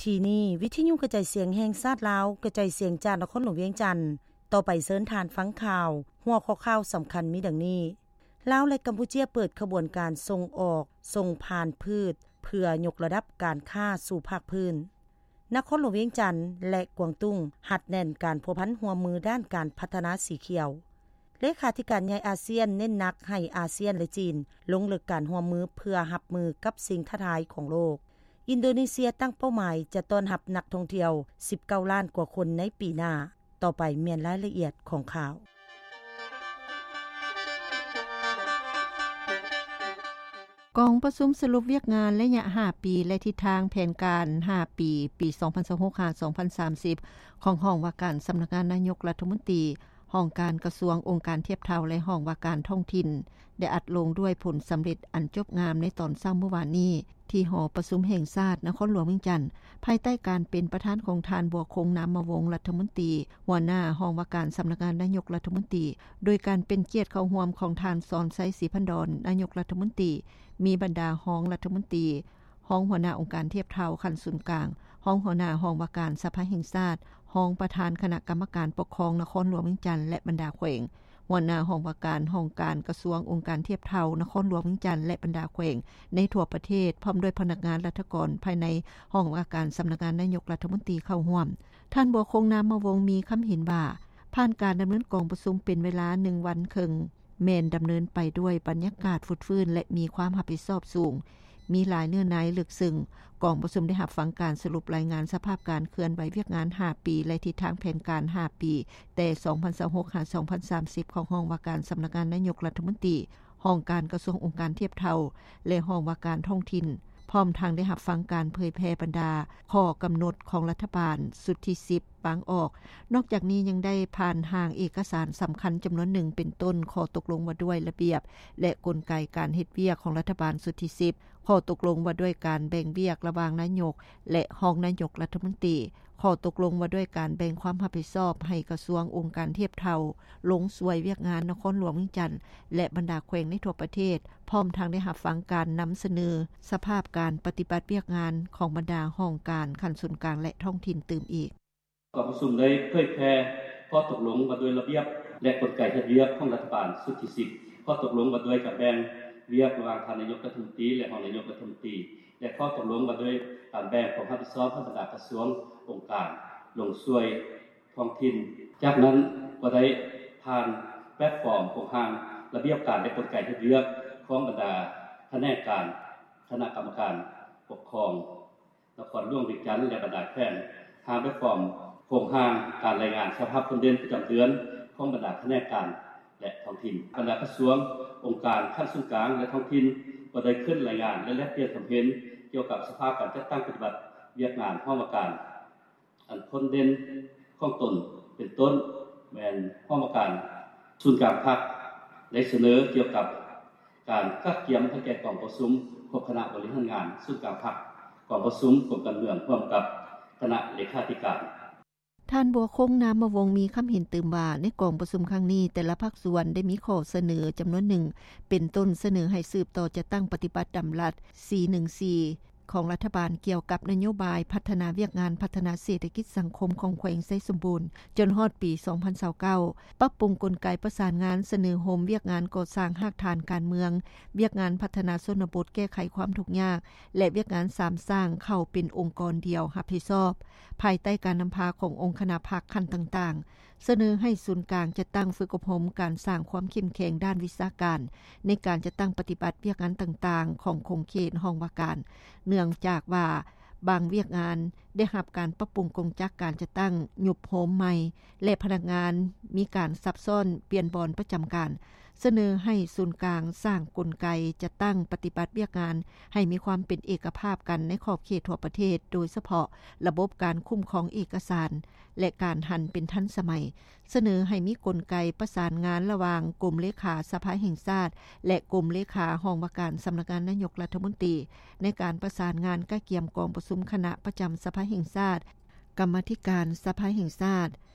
ທີ່ນີ້ ວິທະຍຸກະຈາຍສຽງແຫ່ງຊາດລາວ ກະຈາຍສຽງຈາກນະຄອນຫຼວງວຽງຈັນ. ຕໍ່ໄປເຊີນທ່ານຟັງຂ່າວ. ຫົວຂໍ້ຂ່າວສຳຄັນມີດັ່ງນີ້: ລາວ ແລະ ກຳປູເຈຍ ເປີດຂະບວນການສົ່ງອອກ ສົ່ງຜ່ານພືດ ເພື່ອຍົກລະດັບການຄ້າສູ່ພາກພື້ນ. ນະຄອນຫຼວງວຽງຈັນ ແລະ ກວາງຕຸ້ງ ຮັດແໜ້ນການພົວພັນຮ່ວມມືດ້ານການພັດທະນາສີຂຽວ. ເລຂາທິການໃຫຍ່ອາຊຽນ ເນັ້ນໜັກໃຫ້ອາຊຽນ ແລະ ຈີນ ລົງເລິກການຮ່ວມມືເພື່ອຮັບມືກັບສິ່ງທ້າທາຍຂອງໂລກ. ອິນໂດເນເຊຍຕັ້ງເປົ້າໝາຍຈະຕ້ອນຮັບນັກທ່ອງທ່ຽວ ສິບເກົ້າລ້ານກວ່າຄົນໃນປີໜ້າ. ຕໍ່ໄປແມ່ນລາຍລະອຽດຂອງຂ່າວ. ກອງປະຊຸມສະຫຼຸບວຽກງານໄລຍະຫ້າປີ ແລະ ທິດທາງແຜນການຫ້າປີ ປີສອງພັນຊາວຫົກ ຫາ ສອງພັນສາມສິບ ຂອງຫ້ອງວ່າການສຳນັກງານນາຍົກລັດຖະມົນຕີ, ຫ້ອງການກະຊວງ, ອົງການທຽບເທົ່າ ແລະ ຫ້ອງວ່າການທ້ອງຖິ່ນ ໄດ້ອັດລົງດ້ວຍຜົນສຳເລັດອັນຈົບງາມໃນຕອນເຊົ້າມື້ວານນີ້ ທີ່ຫໍປະຊຸມແຫ່ງຊາດນະຄອນຫຼວງວຽງຈັນ, ພາຍໃຕ້ການເປັນປະທານຂອງທ່ານ ບົວຄົງ ນາມມະວົງ ລັດຖະມົນຕີ ຫົວໜ້າຫ້ອງວ່າການສຳນັກງານນາຍົກລັດຖະມົນຕີ, ໂດຍການເປັນກຽດເຂົ້າຮ່ວມຂອງທ່ານ ສອນໄຊ ສີພັນດອນ ນາຍົກລັດຖະມົນຕີ, ມີບັນດາຮອງລັດຖະມົນຕີ, ຮອງຫົວໜ້າອົງການທຽບເທົ່າຂັ້ນສູນກາງ, ຮອງຫົວໜ້າຫ້ອງວ່າການສະພາແຫ່ງຊາດ, ຮອງປະທານຄະນະກຳມະການປົກຄອງນະຄອນຫຼວງວຽງຈັນ ແລະ ບັນດາແຂວງ, ຫົວໜ້າຫ້ອງວ່າການຫ້ອງການກະຊວງ, ອົງການທຽບເທົ່ານະຄອນຫຼວງວຽງຈັນ ແລະ ບັນດາແຂວງໃນທົ່ວປະເທດ, ພ້ອມດ້ວຍພະນັກງານລັດຖະກອນພາຍໃນຫ້ອງວ່າການສຳນັກງານນາຍົກລັດຖະມົນຕີເຂົ້າຮ່ວມ. ທ່ານ ບົວຄົງ ນາມມະວົງ ມີຄຳເຫັນວ່າ ຜ່ານການດຳເນີນກອງປະຊຸມເປັນເວລາໜຶ່ງວັນເຄິ່ງ ແມ່ນດຳເນີນໄປດ້ວຍບັນຍາກາດຟົດຟື້ນ ແລະ ມີຄວາມຮັບຜິດຊອບສູງ, ມີຫຼາຍເນື້ອໃນເລິກເຊິ່ງ. ກອງປະຊຸມໄດ້ຮັບຟັງການສະຫຼຸບລາຍງານສະພາບການເຄື່ອນໄຫວວຽກງານຫ້າປີ ແລະ ທິດທາງແຜນການຫ້າປີ ແຕ່ສອງພັນຊາວຫົກ ຫາ ສອງພັນສາມສິບ ຂອງຫ້ອງວ່າການສຳນັກງານນາຍົກລັດຖະມົນຕີ, ຫ້ອງການກະຊວງ, ອົງການທຽບເທົ່າ ແລະ ຫ້ອງວ່າການທ້ອງຖິ່ນ, ພ້ອມທັງໄດ້ຮັບຟັງການເຜີຍແຜ່ບັນດາຂໍ້ກຳນົດຂອງລັດຖະບານຊຸດທີສິບ ວາງອອກ. ນອກຈາກນີ້ຍັງໄດ້ຜ່ານຮ່າງເອກະສານສຳຄັນຈຳນວນໜຶ່ງ ເປັນຕົ້ນ ຂໍ້ຕົກລົງວ່າດ້ວຍລະບຽບ ແລະ ກົນໄກການເຮັດວຽກຂອງລັດຖະບານຊຸດທີສິບ, ຂໍ້ຕົກລົງວ່າດ້ວຍການແບ່ງວຽກລະຫວ່າງນາຍົກ ແລະ ຮອງນາຍົກລັດຖະມົນຕີ, ຂໍ້ຕົກລົງວ່າດ້ວຍການແບ່ງຄວາມຮັບຜິດຊອບໃຫ້ກະຊວງ, ອົງການທຽບເທົ່າ, ລົງຊ່ວຍວຽກງານນະຄອນຫຼວງວຽງຈັນ ແລະ ບັນດາແຂວງໃນທົ່ວປະເທດ, ພ້ອມທັງໄດ້ຮັບຟັງການນຳສະເໜີສະພາບການປະຕິບັດວຽກງານຂອງບັນດາຫ້ອງການຂັ້ນສູນກາງ ແລະ ທ້ອງຖິ່ນຕື່ມອີກ. ກອງປະຊຸມໄດ້ເຜີຍແຜ່ຂໍ້ຕົກລົງວ່າດ້ວຍລະບຽບ ແລະ ກົນໄກເຮັດວຽກຂອງລັດຖະບານຊຸດທີສິບ, ຂໍ້ຕົກລົງວ່າດ້ວຍການແບ່ງວຽກລະຫວ່າງທ່ານນາຍົກລັດຖະມົນຕີ ແລະ ຮອງນາຍົກລັດຖະມົນຕີ ແລະ ຂໍ້ຕົກລົງວ່າດ້ວຍການແບ່ງຄວາມຮັບຜິດຊອບໃຫ້ບັນດາກະຊວງ, ອົງການ, ລົງຊ່ວຍທ້ອງຖິ່ນ. ຈາກນັ້ນກໍໄດ້ຜ່ານແພລດຟອມໂຄງຮ່າງລະບຽບການ ແລະ ກົນໄກເຮັດວຽກຂອງບັນດາຂະແໜງການ, ຄະນະກຳມະການປົກຄອງ ນະຄອນຫຼວງວຽງຈັນ ແລະ ບັນດາແຂວງ, ຮ່າງແບບຟອມໂຄງຮ່າງການລາຍງານສະພາບຄົນເດັ່ນປະຈຳເດືອນຂອງບັນດາຂະແໜງການ ແລະ ທ້ອງຖິ່ນ. ບັນດາກະຊວງ, ອົງການຂັ້ນສູນກາງ ແລະ ທ້ອງຖິ່ນ ກໍໄດ້ຂຶ້ນລາຍງານ ແລະ ແລກປ່ຽນຄວາມເຫັນກ່ຽວກັບສະພາບການຈັດຕັ້ງປະຕິບັດວຽກງານຫ້ອງວ່າການ ອັນພົ້ນເດັ່ນຂອງຕົນ ເປັນຕົ້ນແມ່ນຫ້ອງວ່າການສູນກາງພັກ ໄດ້ສະເໜີກ່ຽວກັບການກະກຽມໃຫ້ແກ່ກອງປະຊຸມຄົບຄະນະບໍລິຫານງານສູນກາງພັກ, ກອງປະຊຸມກົມການເມືອງຮ່ວມກັບຄະນະເລຂາທິການ. ທ່ານ ບົວຄົງ ນາມມະວົງ ມີຄຳເຫັນຕື່ມວ່າ ໃນກອງປະຊຸມຄັ້ງນີ້ ແຕ່ລະພາກສ່ວນໄດ້ມີຂໍ້ສະເໜີຈຳນວນໜຶ່ງ ເປັນຕົ້ນສະເໜີໃຫ້ສືບຕໍ່ຈັດຕັ້ງປະຕິບັດດຳລັດ ສີ່ໜຶ່ງສີ່ ຂອງລັດຖະບານກ່ຽວກັບນະໂຍບາຍພັດທະນາວຽກງານພັດທະນາເສດຖະກິດສັງຄົມຂອງແຂວງໄຊສົມບູນ ຈົນຮອດປີສອງພັນຊາວເກົ້າ, ປັບປຸງກົນໄກປະສານງານ, ສະເໜີໂຮມວຽກງານກໍ່ສ້າງຮາກຖານການເມືອງ, ວຽກງານພັດທະນາຊົນນະບົດແກ້ໄຂຄວາມທຸກຍາກ ແລະ ວຽກງານສາມສ້າງເຂົ້າເປັນອົງກອນດຽວຮັບຜິດຊອບ ພາຍໃຕ້ການນຳພາຂອງອົງຄະນະພັກຂັ້ນຕ່າງໆ. ສະເໜີໃຫ້ສູນກາງຈັດຕັ້ງຝຶກອົບຮົມການສ້າງຄວາມເຂັ້ມແຂງດ້ານວິຊາການ ໃນການຈັດຕັ້ງປະຕິບັດວຽກງານຕ່າງໆຂອງຂົງເຂດຫ້ອງວ່າການ, ເນື່ອງຈາກວ່າບາງວຽກງານໄດ້ຮັບການປັບປຸງກົງຈັກການຈັດຕັ້ງ, ຍຸບໂຮມໃໝ່ ແລະ ພະນັກງານມີການສັບຊ້ອນປ່ຽນບ່ອນປະຈຳການ. ສະເໜີໃຫ້ສູນກາງສ້າງກົນໄກຈັດຕັ້ງປະຕິບັດວຽກງານໃຫ້ມີຄວາມເປັນເອກະພາບກັນໃນຂອບເຂດທົ່ວປະເທດ, ໂດຍສະເພາະລະບົບການຄຸ້ມຄອງເອກະສານ ແລະ ການຫັນເປັນທັນສະໄໝ. ສະເໜີໃຫ້ມີກົນໄກປະສານງານລະຫວ່າງກົມເລຂາສະພາແຫ່ງຊາດ ແລະ ກົມເລຂາຫ້ອງວ່າການສຳນັກງານນາຍົກລັດຖະມົນຕີ ໃນການປະສານງານກະກຽມກອງປະຊຸມຄະນະປະຈຳສະພາແຫ່ງຊາດ, ກຳມາທິການສະພາແຫ່ງຊາດ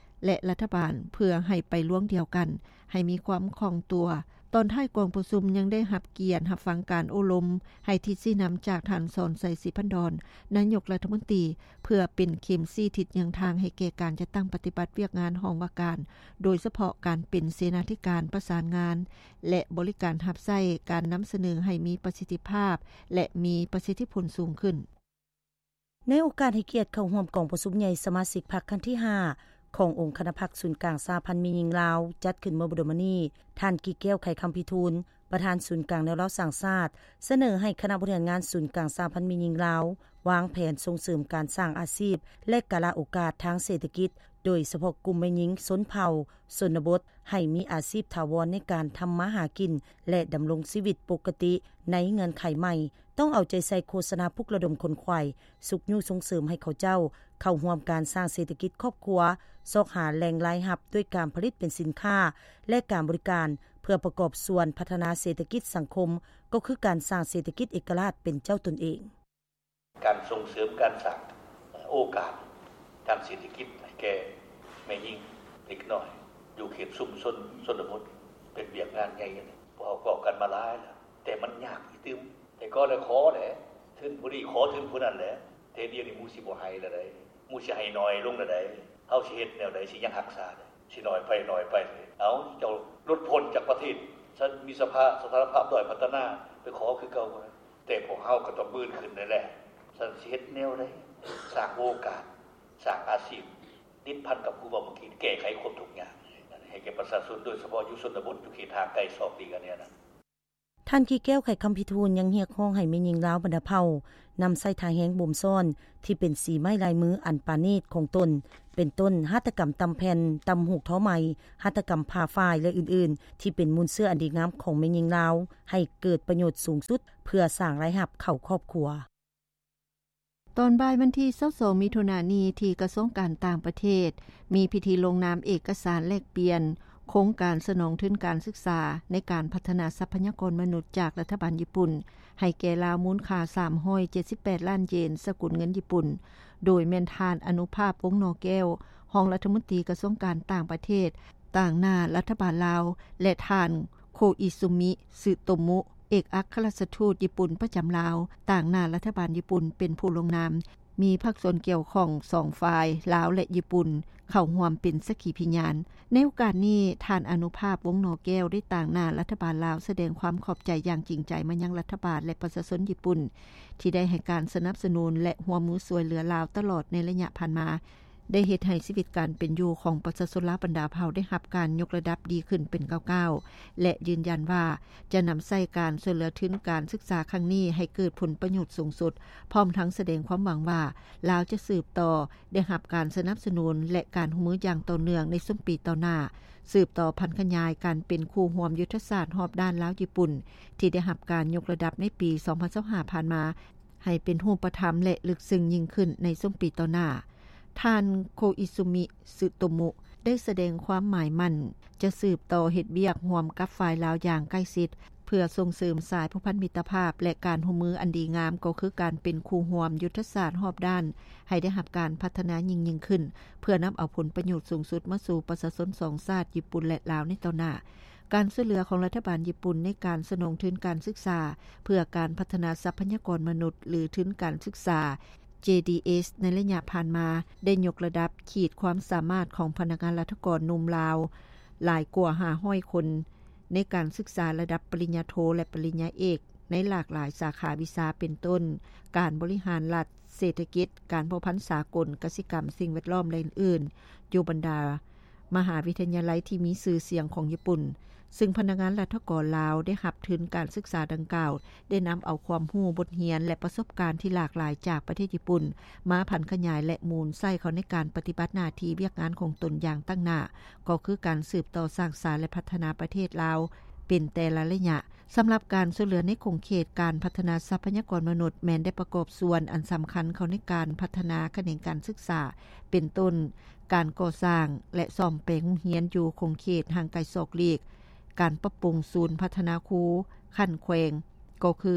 ແລະ ລັດຖະບານ ເພື່ອໃຫ້ໄປລວງດຽວກັນ, ໃຫ້ມີຄວາມຄ່ອງຕົວ, ຕອນທ້າຍກອງປະຊຸມຍັງໄດ້ຮັບກຽດຮັບຟັງການໂອ້ລົມ ໃຫ້ທິດຊີ້ນຳຈາກທ່ານ ສອນໄຊ ສີພັນດອນ ນາຍົກລັດຖະມົນຕີ ເພື່ອເປັນເຂັມຊີ້ທິດຍ່າງທາງໃຫ້ແກ່ການຈັດຕັ້ງປະຕິບັດວຽກງານຫ້ອງວ່າການ, ໂດຍສະເພາະການເປັນເສນາທິການປະສານງານ ແລະ ບໍລິການຮັບໃຊ້, ການນຳສະເໜີໃຫ້ມີປະສິດທິພາບ ແລະ ມີປະສິດທິຜົນສູງຂຶ້ນ. ໃນໂອກາດໃຫ້ກຽດເຂົ້າຮ່ວມກອງປະຊຸມໃຫຍ່ສະມາຊິກພັກຄັ້ງທີຫ້າ ຂອງອົງຄະນະພັກສູນກາງສະຫະພັນແມ່ຍິງລາວ ຈັດຂຶ້ນເມື່ອບໍ່ດົນມານີ້, ທ່ານ ກີ່ແກ້ວ ໄຂຄຳພິທູນ ປະທານສູນກາງແນວລາວສ້າງຊາດ ສະເໜີໃຫ້ຄະນະບໍລິຫານງານສູນກາງສະຫະພັນແມ່ຍິງລາວ ວາງແຜນສົ່ງເສີມການສ້າງອາຊີບ ແລະ ກາລະໂອກາດທາງເສດຖະກິດ, ໂດຍສະເພາະກຸ່ມແມ່ຍິງຊົນເຜົ່າ ຊົນນະບົດ ໃຫ້ມີອາຊີບຖາວອນໃນການທຳມາຫາກິນ ແລະ ດຳລົງຊີວິດປົກກະຕິໃນເງື່ອນໄຂໃໝ່. ຕ້ອງເອົາໃຈໃສ່ໂຄສະນາປຸກລະດົມຂົນຂວາຍ, ຊຸກຍູ້ສົ່ງເສີມໃຫ້ເຂົາເຈົ້າເຂົ້າຮ່ວມການສ້າງເສດຖະກິດຄອບຄົວ, ຊອກຫາແຫຼ່ງລາຍຮັບດ້ວຍການຜະລິດເປັນສິນຄ້າ ແລະ ການບໍລິການ ເພື່ອປະກອບສ່ວນພັດທະນາເສດຖະກິດສັງຄົມ, ກໍຄືການສ້າງເສດຖະກິດເອກະລາດເປັນເຈົ້າຕົນເອງ. ການສົ່ງເສີມການສ້າງໂອກາດທາງເສດຖະກິດໃຫ້ແກ່ແມ່ຍິງເດັກນ້ອຍ ຢູ່ເຂດຊຸມຊົນຊົນນະບົດ ເປັນວຽກງານໃຫຍ່. ພວກເຮົາເວົ້າກັນມາຫຼາຍແລ້ວ ແຕ່ມັນຍາກອີກຕື່ມ. ແຕ່ກໍໄດ້ຂໍແຫຼະ ທຶນຜູ້ນີ້ຂໍທຶນຜູ້ນັ້ນແຫຼະ, ແຕ່ດຽວນີ້ໝູ່ຊິບໍ່ໃຫ້ລະໃດ໋, ໝູ່ຊິໃຫ້ໜ້ອຍລົງລະໃດ໋. ເຮົາຊິເຮັດແນວໃດ ຊິຍັງຮັກສາໄດ້? ຊິໜ້ອຍໄປໜ້ອຍໄປ. ເອົາ ເຈົ້າຫຼຸດພົ້ນຈາກປະເທດ, ຊັ້ນມີສະພາ ສະຖານະພາບດ້ອຍພັດທະນາ ໄປຂໍຄືເກົ່າບໍ່ໄດ້. ແຕ່ພວກເຮົາກໍຕ້ອງບືນຂຶ້ນນັ້ນແຫຼະ. ຊັ້ນຊິເຮັດແນວໃດ ສ້າງໂອກາດ, ສ້າງອາຊີບ, ຕິດພັນກັບຜູ້ເວົ້າເມື່ອກີ້, ແກ້ໄຂຄວາມທຸກຍາກໃຫ້ແກ່ປະຊາຊົນ, ໂດຍສະເພາະຢູ່ຊົນນະບົດ, ຢູ່ເຂດຫ່າງໄກສອກຫຼີກອັນນີ້ນະ. ທ່ານ ກີ່ແກ້ວ ໄຂຄຳພິທູນ ຍັງຮຽກຮ້ອງໃຫ້ແມ່ຍິງລາວບັນດາເຜົ່າ ນຳໃຊ້ທ່າແຮງບົ່ມຊ້ອນທີ່ເປັນສີໄມ້ລາຍມືອັນປານີດຂອງຕົນ, ເປັນຕົ້ນ ຫັດຖະກຳຕ່ຳແຜ່ນ, ຕ່ຳຫູກທໍໄໝ, ຫັດຖະກຳຜ່າຝ້າຍ ແລະ ອື່ນໆ ທີ່ເປັນມູນເຊື້ອອັນດີງາມຂອງແມ່ຍິງລາວ ໃຫ້ເກີດປະໂຫຍດສູງສຸດ ເພື່ອສ້າງລາຍຮັບເຂົ້າຄອບຄົວ. ຕອນບ່າຍວັນທີຊາວສອງ ມິຖຸນານີ້ ທີ່ກະຊວງການຕ່າງປະເທດ ມີພິທີລົງນາມເອກະສານແລກປ່ຽນໂຄງການສະໜອງທຶນການສຶກສາ ໃນການພັດທະນາຊັບພະຍາກອນມະນຸດຈາກລັດຖະບານຍີ່ປຸ່ນ ໃຫ້ແກ່ລາວ ມູນຄ່າສາມຮ້ອຍເຈັດສິບແປດລ້ານເຢນ ສະກຸນເງິນຍີ່ປຸ່ນ, ໂດຍແມ່ນທ່ານ ອະນຸພາບ ວົງໜໍແກ້ວ ຮອງລັດຖະມົນຕີກະຊວງການຕ່າງປະເທດ ຕາງໜ້າລັດຖະບານລາວ ແລະ ທ່ານ ໂຄອິຊູມິ ຊຶໂຕມຸ ເອກອັກຄະລັດຖະທູດຍີ່ປຸ່ນປະຈຳລາວ ຕາງໜ້າລັດຖະບານຍີ່ປຸ່ນເປັນຜູ້ລົງນາມ, ມີພາກສ່ວນກ່ຽວຂ້ອງສອງຝ່າຍ ລາວ ແລະ ຍີ່ປຸ່ນ ເຂົ້າຮ່ວມເປັນສັກຂີພິຍານ. ໃນໂອກາດນີ້, ທ່ານ ອະນຸພາບ ວົງໜໍແກ້ວ ໄດ້ຕາງໜ້າລັດຖະບານລາວ ສະແດງຄວາມຂອບໃຈຢ່າງຈິງໃຈມາຍັງລັດຖະບານ ແລະ ປະຊາຊົນຍີ່ປຸ່ນ ທີ່ໄດ້ໃຫ້ການສະໜັບສະໜູນ ແລະ ຮ່ວມມືຊ່ວຍເຫຼືອລາວຕະຫຼອດໃນໄລຍະຜ່ານມາ, ໄດ້ເຮັດໃຫ້ຊີວິດການເປັນຢູ່ຂອງປະຊາຊົນລາວບັນດາເຜົ່າໄດ້ຮັບການຍົກລະດັບດີຂຶ້ນເປັນກ້າວໆ ແລະ ຢືນຢັນວ່າຈະນຳໃຊ້ການຊ່ວຍເຫຼືອທຶນການສຶກສາຄັ້ງນີ້ໃຫ້ເກີດຜົນປະໂຫຍດສູງສຸດ, ພ້ອມທັງສະແດງຄວາມຫວັງວ່າ ລາວຈະສືບຕໍ່ໄດ້ຮັບການສະໜັບສະໜູນ ແລະ ການຮ່ວມມືຢ່າງຕໍ່ເນື່ອງໃນຊຸມປີຕໍ່ໜ້າ, ສືບຕໍ່ຜັນຂະຫຍາຍການເປັນຄູ່ຮ່ວມຍຸດທະສາດຮອບດ້ານລາວຍີ່ປຸ່ນ ທີ່ໄດ້ຮັບການຍົກລະດັບໃນປີສອງພັນຊາວຫ້າຜ່ານມາ ໃຫ້ເປັນຮູບປະທຳ ແລະ ເລິກເຊິ່ງຍິ່ງຂຶ້ນໃນຊຸມປີຕໍ່ໜ້າ. ທ່ານ ໂຄອິຊູມິ ຊຶໂຕມຸ ໄດ້ສະແດງຄວາມໝາຍໝັ້ນຈະສືບຕໍ່ເຮັດວຽກຮ່ວມກັບຝ່າຍລາວຢ່າງໃກ້ຊິດ ເພື່ອສົ່ງເສີມສາຍພົວພັນມິດຕະພາບ ແລະ ການຮ່ວມມືອັນດີງາມ, ກໍຄືການເປັນຄູ່ຮ່ວມຍຸດທະສາດຮອບດ້ານ ໃຫ້ໄດ້ຮັບການພັດທະນາຍິ່ງໆຂຶ້ນ, ເພື່ອນຳເອົາຜົນປະໂຫຍດສູງສຸດມາສູ່ປະຊາຊົນສອງຊາດ ຍີ່ປຸ່ນ ແລະ ລາວ ໃນຕໍ່ໜ້າ. ການຊ່ວຍເຫຼືອຂອງລັດຖະບານຍີ່ປຸ່ນໃນການສະໜອງທຶນການສຶກສາເພື່ອການພັດທະນາຊັບພະຍາກອນມະນຸດ ຫຼື ທຶນການສຶກສາ ເຈດີເອສ ໃນໄລຍະຜ່ານມາ ໄດ້ຍົກລະດັບຂີດຄວາມສາມາດຂອງພະນັກງານລັດຖະກອນໜຸ່ມລາວຫຼາຍກວ່າຫ້າຮ້ອຍຄົນ ໃນການສຶກສາລະດັບປະລິນຍາໂທ ແລະ ປະລິນຍາເອກ ໃນຫຼາກຫຼາຍສາຂາວິຊາ ເປັນຕົ້ນ ການບໍລິຫານລັດ, ເສດຖະກິດ, ການພົວພັນສາກົນ, ກະສິກຳ, ສິ່ງແວດລ້ອມ ແລະ ອື່ນໆ ຢູ່ບັນດາ ມະຫາວິທະຍາໄລທີ່ມີຊື່ສຽງຂອງຍີ່ປຸ່ນ, ຊຶ່ງພະນັກງານລັດຖະກອນລາວໄດ້ຮັບທຶນການສຶກສາດັ່ງກ່າວ ໄດ້ນຳເອົາຄວາມຮູ້, ບົດຮຽນ ແລະ ປະສົບການທີ່ຫຼາກຫຼາຍຈາກປະເທດຍີ່ປຸ່ນ ມາຜັນຂະຫຍາຍ ແລະ ໝູນໃຊ້ເຂົ້າໃນການປະຕິບັດໜ້າທີ່ວຽກງານຂອງຕົນຢ່າງຕັ້ງໜ້າ, ກໍຄືການສືບຕໍ່ສ້າງສາ ແລະ ພັດທະນາປະເທດລາວເປັນແຕ່ລະໄລຍະ. ສຳລັບການຊ່ວຍເຫຼືອໃນຂົງເຂດການພັດທະນາຊັບພະຍາກອນມະນຸດ ແມ່ນໄດ້ປະກອບສ່ວນອັນສຳຄັນເຂົ້າໃນການພັດທະນາຂະແໜງການສຶກສາ ເປັນຕົ້ນ ການກໍ່ສ້າງ ແລະ ສ້ອມແປງໂຮງຮຽນຢູ່ຂົງເຂດຫ່າງໄກສອກຫຼີກ, ການປັບປຸງສູນພັດທະນາຄູຂັ້ນແຂວງ, ກໍຄື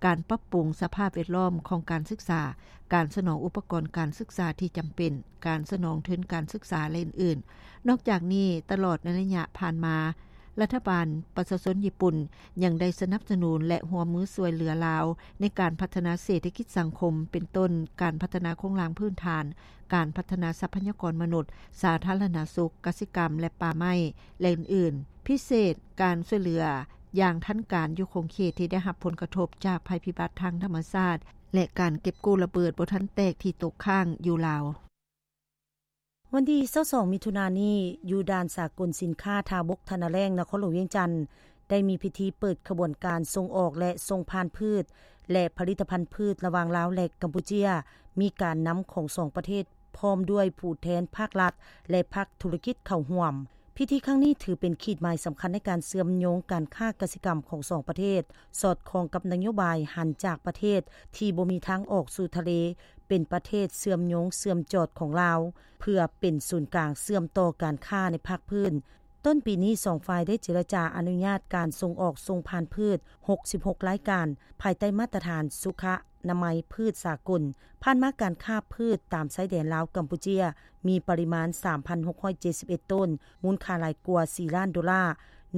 ການປັບປຸງສະພາບແວດລ້ອມຂອງການສຶກສາ, ການສະໜອງອຸປະກອນການສຶກສາທີ່ຈຳເປັນ, ການສະໜອງທຶນການສຶກສາ ແລະ ອື່ນໆ. ນອກຈາກນີ້, ຕະຫຼອດໃນໄລຍະຜ່ານມາ, ລັດຖະບານປະຊາຊົນຍີ່ປຸ່ນ ຍັງໄດ້ສະໜັບສະໜູນ ແລະ ຮ່ວມມືຊ່ວຍເຫຼືອລາວ ໃນການພັດທະນາເສດຖະກິດສັງຄົມ ເປັນຕົ້ນ ການພັດທະນາໂຄງລ່າງພື້ນຖານ, ການພັດທະນາຊັບພະຍາກອນມະນຸດ, ສາທາລະນະສຸກ, ກະສິກຳ ແລະ ປ່າໄມ້ ແລະ ອື່ນໆ, ພິເສດ ການຊ່ວຍເຫຼືອຢ່າງທັນການ ຢູ່ຂົງເຂດທີ່ໄດ້ຮັບຜົນກະທົບ ຈາກໄພພິບັດທາງທຳມະຊາດ ແລະ ການເກັບກູ້ລະເບີດບໍ່ທັນແຕກ ທີ່ຕົກຄ້າງຢູ່ລາວ. ວັນທີຊາວສອງ ມິຖຸນານີ້ ຢູ່ດ່ານສາກົນສິນຄ້າທ່າບົກ ທ່ານາແລ້ງ ນະຄອນຫຼວງວຽງຈັນ ໄດ້ມີພິທີເປີດຂະບວນການສົ່ງອອກ ແລະ ສົ່ງຜ່ານພືດ ແລະ ຜະລິດຕະພັນພືດ ລະຫວ່າງລາວ ແລະ ກຳປູເຈຍ, ມີການນຳຂອງສອງປະເທດ ພ້ອມດ້ວຍຜູ້ແທນພາກລັດ ແລະ ພາກທຸລະກິດເຂົ້າຮ່ວມ. ພິທີຄັ້ງນີ້ຖືເປັນຂີດໝາຍສຳຄັນໃນການເຊື່ອມໂຍງການຄ້າກະສິກຳຂອງສອງປະເທດ, ສອດຄ່ອງກັບນະໂຍບາຍຫັນຈາກປະເທດທີ່ບໍ່ມີທາງອອກສູ່ທະເລ ເປັນປະເທດເຊື່ອມໂຍງເຊື່ອມຈອດຂອງລາວ ເພື່ອເປັນສູນກາງເຊື່ອມຕໍ່ການຄ້າໃນພາກພື້ນ. ຕົ້ນປີນີ້ ສອງຝ່າຍໄດ້ເຈລະຈາອະນຸຍາດການສົ່ງອອກສົ່ງຜ່ານພືດ ຫົກສິບຫົກລາຍການ ພາຍໃຕ້ມາດຕະຖານສຸຂະນາໄມພືດສາກົນ. ຜ່ານມາການຄ້າພືດຕາມຊາຍແດນລາວ-ກຳປູເຈຍ ມີປະລິມານ ສາມພັນຫົກຮ້ອຍເຈັດສິບເອັດໂຕນ, ມູນຄ່າຫຼາຍກວ່າ ສີ່ລ້ານໂດລາ.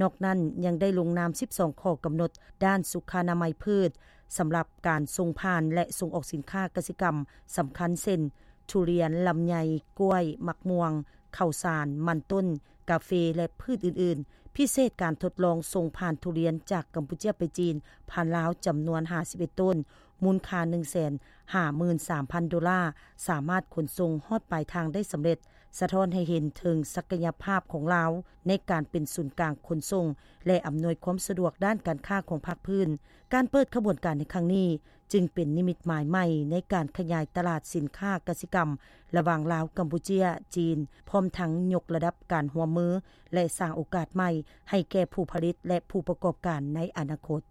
ນອກນັ້ນຍັງໄດ້ລົງນາມ ສິບສອງຂໍ້ກຳນົດດ້ານສຸຂະນາໄມພືດ ສຳລັບການສົ່ງຜ່ານ ແລະ ສົ່ງອອກສິນຄ້າກະສິກຳສຳຄັນ ເຊັ່ນ ທຸລຽນ, ລຳໄຍ, ກ້ວຍ, ໝາກມ່ວງ, ເຂົ້າສານ, ມັນຕົ້ນ, ກາເຟ ແລະ ພືດອື່ນໆ. ພິເສດການທົດລອງສົ່ງຜ່ານທຸລຽນຈາກກຳປູເຈຍໄປຈີນ ຜ່ານລາວ ຈຳນວນ ຫ້າສິບເອັດໂຕນ, ມູນຄ່າ ໜຶ່ງແສນຫ້າໝື່ນສາມພັນໂດລາ ສາມາດຂົນສົ່ງຮອດປາຍທາງໄດ້ສຳເລັດ, ສະທ້ອນໃຫ້ເຫັນເຖິງສັກກະຍະພາບຂອງລາວໃນການເປັນສູນກາງຂົນສົ່ງ ແລະ ອຳນວຍຄວາມສະດວກດ້ານການຄ້າຂອງພາກພື້ນ. ການເປີດຂະບວນການໃນຄັ້ງນີ້ ຈຶ່ງເປັນນິມິດໝາຍໃໝ່ໃນການຂະຫຍາຍຕະຫຼາດສິນຄ້າກະສິກຳລະຫວ່າງລາວ, ກຳປູເຈຍ, ຈີນ, ພ້ອມທັງຍົກລະດັບການຮ່ວມມື ແລະ ສ້າງໂອກາດໃໝ່ໃຫ້ແກ່ຜູ້ຜະລິດ ແລະ ຜູ້ປະກອບການໃນອະນາຄົດ.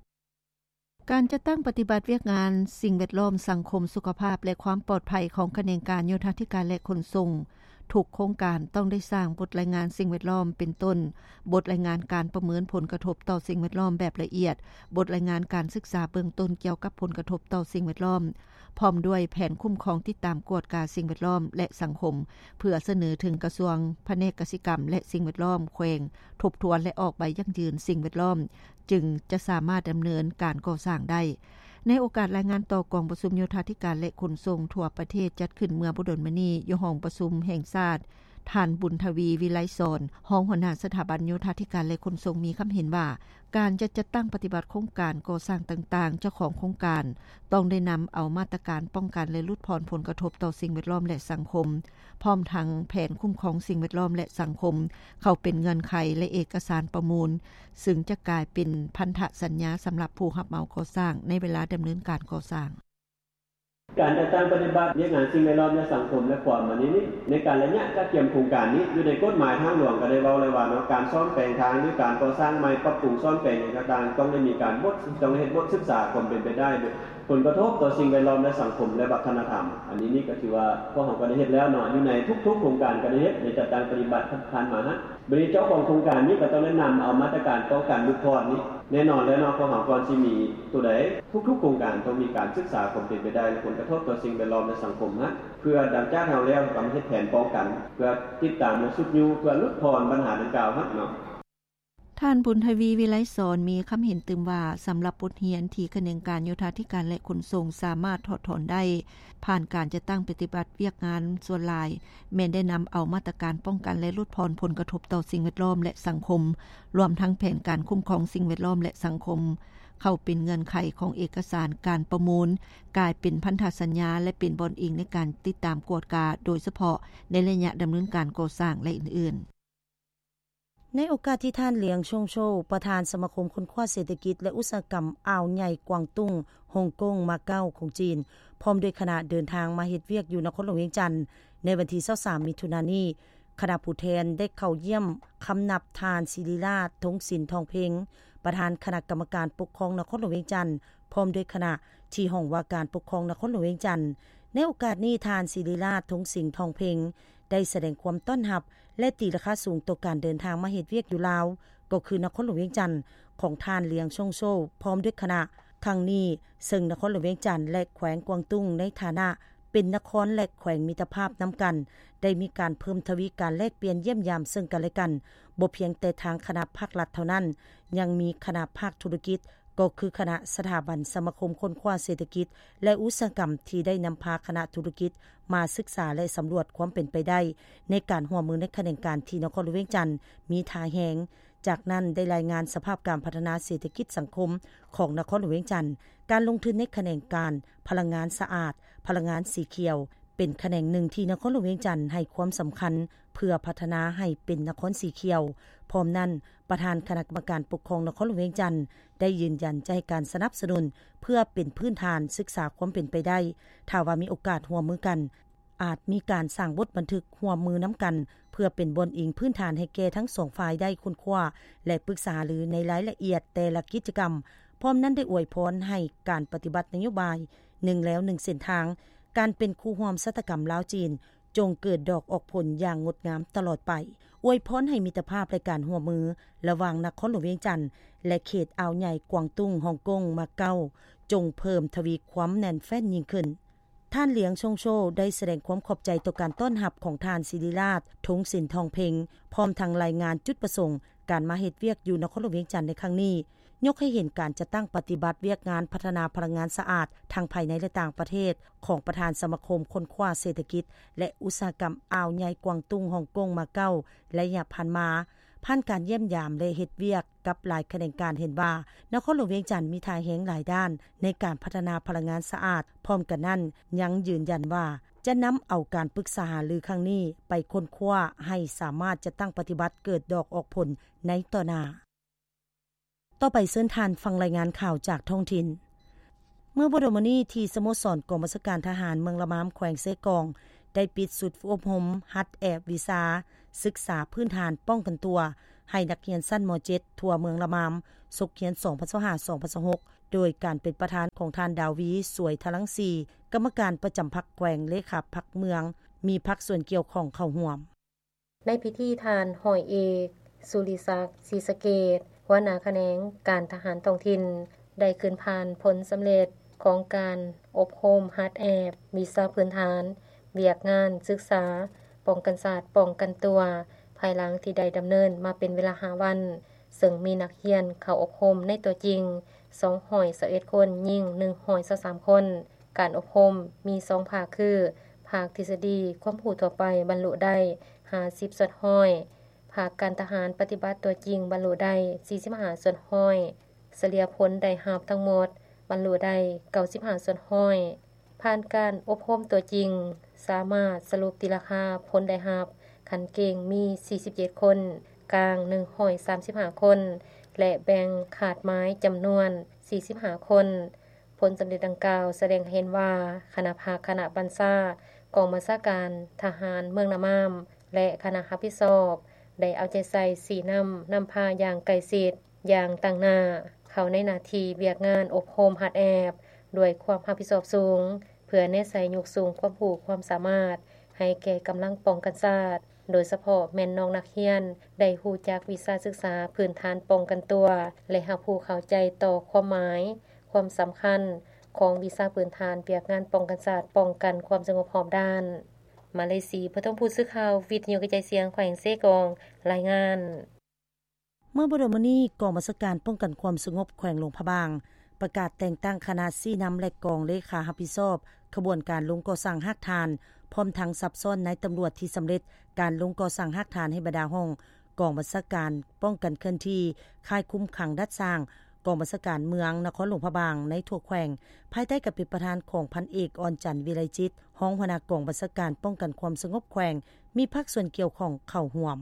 ການຈັດຕັ້ງປະຕິບັດວຽກງານສິ່ງແວດລ້ອມ, ສັງຄົມ, ສຸຂະພາບ ແລະ ຄວາມປອດໄພຂອງຂະແໜງການໂຍທາທິການ ແລະ ຂົນສົ່ງ ທຸກໂຄງການຕ້ອງໄດ້ສ້າງບົດລາຍງານສິ່ງແວດລ້ອມ ເປັນຕົ້ນ ບົດລາຍງານການປະເມີນຜົນກະທົບຕໍ່ສິ່ງແວດລ້ອມແບບລະອຽດ, ບົດລາຍງານການສຶກສາເບື້ອງຕົ້ນກ່ຽວກັບຜົນກະທົບຕໍ່ສິ່ງແວດລ້ອມ, ພ້ອມດ້ວຍແຜນຄຸ້ມຄອງ, ຕິດຕາມ, ກວດກາສິ່ງແວດລ້ອມ ແລະ ສັງຄົມ ເພື່ອສະເໜີເຖິງກະຊວງ, ພະແນກກະສິກຳ ແລະ ສິ່ງແວດລ້ອມແຂວງ ທົບທວນ ແລະ ອອກໃບຢັ້ງຢືນສິ່ງແວດລ້ອມ ຈຶ່ງຈະສາມາດດຳເນີນການກໍ່ສ້າງໄດ້. ໃນໂອກາດລາຍງານຕໍ່ກອງປະຊຸມໂຍທາທິການ ແລະ ຂົນສົ່ງທົ່ວປະເທດ ຈັດຂຶ້ນເມື່ອບໍ່ດົນມານີ້ ຢູ່ຫ້ອງປະຊຸມແຫ່ງຊາດ, ທ່ານ ບຸນທະວີ ວິໄລສອນ ຮອງຫົວໜ້າສະຖາບັນໂຍທາທິການ ແລະ ຂົນສົ່ງ ມີຄຳເຫັນວ່າ ການຈະຈັດຕັ້ງປະຕິບັດໂຄງການກໍ່ສ້າງຕ່າງໆ, ເຈົ້າຂອງໂຄງການຕ້ອງໄດ້ນຳເອົາມາດຕະການປ້ອງກັນ ແລະ ຫຼຸດຜ່ອນຜົນກະທົບຕໍ່ສິ່ງແວດລ້ອມ ແລະ ສັງຄົມ, ພ້ອມທັງແຜນຄຸ້ມຄອງສິ່ງແວດລ້ອມ ແລະ ສັງຄົມ ເຂົ້າເປັນເງື່ອນໄຂ ແລະ ເອກະສານປະມູນ, ຊຶ່ງຈະກາຍເປັນພັນທະສັນຍາສຳລັບຜູ້ຮັບເໝົາກໍ່ສ້າງ ໃນເວລາດຳເນີນການກໍ່ສ້າງ. ການຈັດຕັ້ງປະຕິບັດວຽກງານສິ່ງແວດລ້ອມ ແລະ ສັງຄົມ ແລະ ຄວາມອັນນີ້ນີ້ ໃນການໄລຍະກະກຽມໂຄງການນີ້ ຢູ່ໃນກົດໝາຍທາງຫຼວງກໍໄດ້ເວົ້າແລ້ວວ່າເນາະ ການສ້ອມແປງທາງ ຫຼື ການກໍ່ສ້າງໃໝ່ ປັບປຸງສ້ອມແປງຫຍັງຕ່າງໆ ຕ້ອງໄດ້ມີການບົດ ຕ້ອງໄດ້ເຮັດບົດສຶກສາຄວາມເປັນໄປໄດ້ ຜົນກະທົບຕໍ່ສິ່ງແວດລ້ອມ ແລະ ສັງຄົມ ແລະ ວັດທະນະທຳ. ອັນນີ້ນີ້ກໍຖືວ່າພວກເຮົາກໍໄດ້ເຮັດແລ້ວເນາະ ຢູ່ໃນທຸກໆໂຄງການກໍໄດ້ເຮັດ ໄດ້ຈັດຕັ້ງປະຕິບັດຜ່ານໆມາຫັ້ນ. ບັດນີ້ເຈົ້າຂອງໂຄງການນີ້ກໍຕ້ອງໄດ້ນຳເອົາມາດຕະການປ້ອງກັນຫຼຸດຜ່ອນນີ້ ແນ່ນອນແລ້ວເນາະ ພວກເຮົາກ່ອນຊິມີຕົວໃດ ທຸກໆໂຄງການຕ້ອງມີການສຶກສາຄວາມເປັນໄປໄດ້ ແລະ ຜົນກະທົບຕໍ່ສິ່ງແວດລ້ອມ ແລະ ສັງຄົມຫັ້ນ ເພື່ອຫຼັງຈາກເຮົາແລ້ວ ເຮົາກໍມາເຮັດແຜນປ້ອງກັນ ເພື່ອຕິດຕາມ ແລະ ຊຸກຍູ້ ເພື່ອຫຼຸດຜ່ອນບັນຫາດັ່ງກ່າວຫັ້ນເນາະ. ທ່ານ ບຸນທະວີ ວິໄລສອນ ມີຄຳເຫັນຕື່ມວ່າ ສຳລັບບົດຮຽນທີ່ຂະແໜງການໂຍທາທິການ ແລະ ຂົນສົ່ງ ສາມາດຖອດຖອນໄດ້ ຜ່ານການຈັດຕັ້ງປະຕິບັດວຽກງານສ່ວນຫຼາຍ ແມ່ນໄດ້ນຳເອົາມາດຕະການປ້ອງກັນ ແລະ ຫຼຸດຜ່ອນຜົນກະທົບຕໍ່ສິ່ງແວດລ້ອມ ແລະ ສັງຄົມ, ລວມທັງແຜນການຄຸ້ມຄອງສິ່ງແວດລ້ອມ ແລະ ສັງຄົມ ເຂົ້າເປັນເງື່ອນໄຂຂອງເອກະສານການປະມູນ, ກາຍເປັນພັນທະສັນຍາ ແລະ ເປັນບ່ອນອີງໃນການຕິດຕາມກວດກາ, ໂດຍສະເພາະໃນໄລຍະດຳເນີນການກໍ່ສ້າງ ແລະ ອື່ນໆ. ໃນໂອກາດທີ່ທ່ານ ຫຼຽງ ຊົງໂຊ ປະທານສະມາຄົມຄົ້ນຄວ້າເສດຖະກິດ ແລະ ອຸດສາຫະກຳອ່າວໃຫຍ່ກວາງຕຸ້ງ, ຮົງກົງ, ມາເກົາຂອງຈີນ ພ້ອມດ້ວຍຄະນະເດີນທາງມາເຮັດວຽກຢູ່ນະຄອນຫຼວງວຽງຈັນ ໃນວັນທີຊາວສາມ ມິຖຸນານີ້, ຄະນະຜູ້ແທນໄດ້ເຂົ້າຢ້ຽມຄຳນັບທ່ານ ສິລິລາດ ທົງສິນ ທອງເພັງ ປະທານຄະນະກຳມະການປົກຄອງນະຄອນຫຼວງວຽງຈັນ ພ້ອມດ້ວຍຄະນະ ທີ່ຫ້ອງວ່າການປົກຄອງນະຄອນຫຼວງວຽງຈັນ. ໃນໂອກາດນີ້, ທ່ານ ສິລິລາດ ທົງສິນ ທອງເພັງ ໄດ້ສະແດງຄວາມຕ້ອນຮັບ ແລະ ຕີລາຄາສູງຕໍ່ການເດີນທາງມາເຮັດວຽກຢູ່ລາວ, ກໍຄືນະຄອນຫຼວງວຽງຈັນ ຂອງທ່ານ ຫຼຽງ ຊົງໂຊ ພ້ອມດ້ວຍຄະນະ ຄັ້ງນີ້, ເຊິ່ງນະຄອນຫຼວງວຽງຈັນ ແລະ ແຂວງກວາງຕຸ້ງ ໃນຖານະເ ປັນນະຄອນ ແລະ ແຂວງມິດຕະພາບນຳກັນ ໄດ້ມີການເພີ່ມທະວີການແລກປ່ຽນຢ້ຽມຢາມເຊິ່ງກັນ ແລະ ກັນ. ບໍ່ພຽງແຕ່ທາງຄະນະພາກລັດເທົ່ານັ້ນ, ຍັງມີຄະນະພາກທຸລະກິດ, ກໍຄືຄະນະສະຖາບັນສະມາຄົມຄົ້ນຄວ້າເສດຖະກິດ ແລະ ອຸດສາຫະກຳ ທີ່ໄດ້ນຳພາຄະນະທຸລະກິດມາສຶກສາ ແລະ ສຳຫຼວດຄວາມເປັນໄປໄດ້ ໃນການຮ່ວມມືໃນຂະແໜງການທີ່ນະຄອນຫຼວງວຽງຈັນມີທ່າແຮງ. ຈາກນັ້ນໄດ້ລາຍງານສະພາບການພັດທະນາເສດຖະກິດສັງຄົມຂອງນະຄອນຫຼວງວຽງຈັນ, ການລົງທຶນໃນຂະແໜງການພະລັງງານສະອາດ, ພະລັງງານສີຂຽວ ເປັນຂະແໜງໜຶ່ງທີ່ນະຄອນຫຼວງວຽງຈັນໃຫ້ຄວາມສຳຄັນ ເພື່ອພັດທະນາໃຫ້ເປັນນະຄອນສີຂຽວ. ພ້ອມນັ້ນ, ປະທານຄະນະກຳມະການປົກຄອງນະຄອນຫຼວງວຽງຈັນ ໄດ້ຢືນຢັນຈະໃຫ້ການສະໜັບສະໜູນເພື່ອເປັນພື້ນຖານສຶກສາຄວາມເປັນໄປໄດ້. ຖ້າວ່າມີໂອກາດຮ່ວມມືກັນ, ອາດມີການສ້າງບົດບັນທຶກຮ່ວມມືນຳກັນ ເພື່ອເປັນບ່ອນອີງພື້ນຖານໃຫ້ແກ່ທັງສອງຝ່າຍໄດ້ຄົ້ນຄວ້າ ແລະ ປຶກສາຫາລືໃນລາຍລະອຽດແຕ່ລະກິດຈະກຳ. ພ້ອມນັ້ນໄດ້ອວຍພອນໃຫ້ການປະຕິບັດນະໂຍບາຍໜຶ່ງແລວໜຶ່ງເສັ້ນທາງ, ການເປັນຄູ່ຮ່ວມຊະຕາກຳລາວ-ຈີນ ຈົ່ງເກີດດອກອອກຜົນຢ່າງງົດງາມຕະຫຼອດໄປ. ອວຍພອນໃຫ້ມິດຕະພາບ ແລະ ການຮ່ວມມືລະຫວ່າງນະຄອນຫຼວງວຽງຈັນ ແລະ ເຂດອ່າວໃຫຍ່ກວາງຕຸ້ງ, ຮ່ອງກົງ, ມາເກົາ ຈົ່ງເພີ່ມທະວີຄວາມແໜ້ນແຟ້ນຍິ່ງຂຶ້ນ. ທ່ານ ຫຼຽງ ຊົງໂຊ ໄດ້ສະແດງຄວາມຂອບໃຈຕໍ່ການຕ້ອນຮັບຂອງທ່ານ ສິລິລາດ ທົງສິນທອງເພັງ ພ້ອມທັງລາຍງານຈຸດປະສົງການມາເຮັດວຽກຢູ່ນະຄອນຫຼວງວຽງຈັນໃນຄັ້ງນີ້, ຍົກໃຫ້ເຫັນການຈັດຕັ້ງປະຕິບັດວຽກງານພັດທະນາພະລັງງານສະອາດທັງພາຍໃນ ແລະ ຕ່າງປະເທດ ຂອງປະທານສະມາຄົມຄົ້ນຄວ້າເສດຖະກິດ ແລະ ອຸດສາຫະກຳອ່າວໃຫຍ່ກວາງຕຸ້ງ, ຮ່ອງກົງ, ມາເກົາ ໄລຍະຜ່ານມາ. ຜ່ານການຢ້ຽມຢາມ ແລະ ເຮັດວຽກກັບຫຼາຍຂະແໜງການ ເຫັນວ່ານະຄອນຫຼວງວຽງຈັນມີທ່າແຮງຫຼາຍດ້ານໃນການພັດທະນາພະລັງງານສະອາດ. ພ້ອມກັນນັ້ນ, ຍັງຢືນຢັນວ່າຈະນຳເອົາການປຶກສາຫາລືຄັ້ງນີ້ໄປຄົ້ນຄວ້າໃຫ້ສາມາດຈັດຕັ້ງປະຕິບັດເກີດດອກອອກຜົນໃນຕໍ່ໜ້າ. ຕໍ່ໄປເຊີນທ່ານຟັງລາຍງານຂ່າວຈາກທ້ອງຖິ່ນ. ເມື່ອບໍ່ດົນມານີ້ ທີ່ສະໂມສອນກອງບັນຊາການທະຫານເມືອງລະມາມ ແຂວງເຊກອງ ໄດ້ປິດຊຸດອົບຮົມຫັດແອບວິຊາສຶກສາພື້ນຖານປ້ອງກັນຕົວ ໃຫ້ນັກຮຽນຊັ້ນ ມ.ເຈັດ ທົ່ວເມືອງລະມາມ ສົກຮຽນ ສອງພັນຊາວຫ້າ ສອງພັນຊາວຫົກ ໂດຍການເປັນປະທານຂອງທ່ານ ດາວີ ສວຍທະລັງສີ ກຳມະການປະຈຳພັກແຂວງ, ເລຂາພັກເມືອງ, ມີພາກສ່ວນກ່ຽວຂ້ອງເຂົ້າຮ່ວມ. ໃນພິທີ ທ່ານ ຮ້ອຍເອກ ສຸລິສັກ ສີສະເກດ ຫົວໜ້າຂະແໜງການທະຫານທ້ອງຖິ່ນ ໄດ້ຂຶ້ນຜ່ານຜົນສຳເລັດຂອງການອົບຮົມຫັດແອບວິຊາພື້ນຖານວຽກງານສຶກສາປ້ອງກັນຊາດປ້ອງກັນຕົວ ພາຍຫຼັງທີ່ໄດ້ດຳເນີນມາເປັນເວລາຫ້າວັນ, ເຊິ່ງມີນັກຮຽນເຂົ້າອົບຮົມໃນຕົວຈິງ ສອງຮ້ອຍຊາວເອັດຄົນ, ຍິງ ໜຶ່ງຮ້ອຍຊາວສາມຄົນ. ການອົບຮົມມີສອງພາກຄື ພາກທິດສະດີຄວາມຮູ້ທົ່ວໄປບັນລຸໄດ້ຫ້າສິບສ່ວນຮ້ອຍ, ພາກການທະຫານປະຕິບັດຕົວຈິງບັນລຸໄດ້ສີ່ສິບຫ້າສ່ວນຮ້ອຍ, ສະເລ່ຍຜົນໄດ້ຮັບທັງໝົດບັນລຸໄດ້ເກົ້າສິບຫ້າສ່ວນຮ້ອຍ. ຜ່ານການອົບຮົມຕົວຈິງ, ສາມາດສະຫຼຸບຕີລາຄາຜົນໄດ້ຮັບຂັ້ນເກັ່ງມີສີ່ສິບເຈັດຄົນ, ກາງໜຶ່ງຮ້ອຍສາມສິບຫ້າຄົນ ແລະ ແບ່ງຄາດໝາຍຈຳນວນສີ່ສິບຫ້າຄົນ. ຜົນສຳເລັດດັ່ງກ່າວສະແດງໃຫ້ເຫັນວ່າ ຄະນະພັກ, ຄະນະບັນຊາກອງບັນຊາການທະຫານເມືອງລະມາມ ແລະ ຄະນະຮັບຜິດຊອບ ໄດ້ເອົາໃຈໃສ່ຊີ້ນຳ, ນຳພາຢ່າງໃກ້ຊິດ, ຢ່າງຕັ້ງໜ້າ ເຂົ້າໃນໜ້າທີ່ວຽກງານອົບຮົມຫັດແອບ ດ້ວຍຄວາມຮັບຜິດຊອບສູງ ເພື່ອແນໃສ່ຍົກສູງຄວາມຮູ້ຄວາມສາມາດໃຫ້ແກ່ກຳລັງປ້ອງກັນຊາດ, ໂດຍສະເພາະແມ່ນນ້ອງນັກຮຽນໄດ້ຮູ້ຈັກວິຊາສຶກສາພື້ນຖານປ້ອງກັນຕົວ ແລະ ຮັບຮູ້ເຂົ້າໃຈຕໍ່ຄວາມໝາຍ, ຄວາມສຳຄັນຂອງວິຊາພື້ນຖານວຽກງານປ້ອງກັນຊາດ, ປ້ອງກັນຄວາມສະຫງົບຮອບດ້ານ. ມາເລສີ ປະຖົມພູດ ສື່ຂ່າວວິທະຍຸກະຈາຍສຽງແຂວງເຊກອງ ລາຍງານ. ເມື່ອບໍ່ດົນມານີ້ ກອງບັນຊາການປ້ອງກັນຄວາມສະຫງົບແຂວງຫຼວງພະບາງ ປະກາດແຕ່ງຕັ້ງຄະນະຊີ້ນຳ ແລະ ກອງເລຂາຮັບຜິດຊອບຂະບວນການລົງກໍ່ສ້າງຮາກຖານ, ພ້ອມທັງສັບຊ້ອນນາຍຕຳຫຼວດທີ່ສຳເລັດການລົງກໍ່ສ້າງຮາກຖານໃຫ້ບັນດາຫ້ອງກອງບັນຊາການປ້ອງກັນເຄື່ອນທີ່, ຄ້າຍຄຸມຂັງດັດສ້າງ, ກອງບັນຊາການເມືອງນະຄອນຫຼວງພະບາງໃນທົ່ວແຂວງ, ພາຍໃຕ້ການເປັນປະທານຂອງພັນເອກ ອອນຈັນ ວິໄລຈິດ, ຮອງຫົວໜ້າກອງບັນຊາການປ້ອງກັນຄວາມສະຫງົບແຂວງ, ມີພາກສ່ວນກ່ຽວຂ້ອງເຂົ້າຮ່ວມ.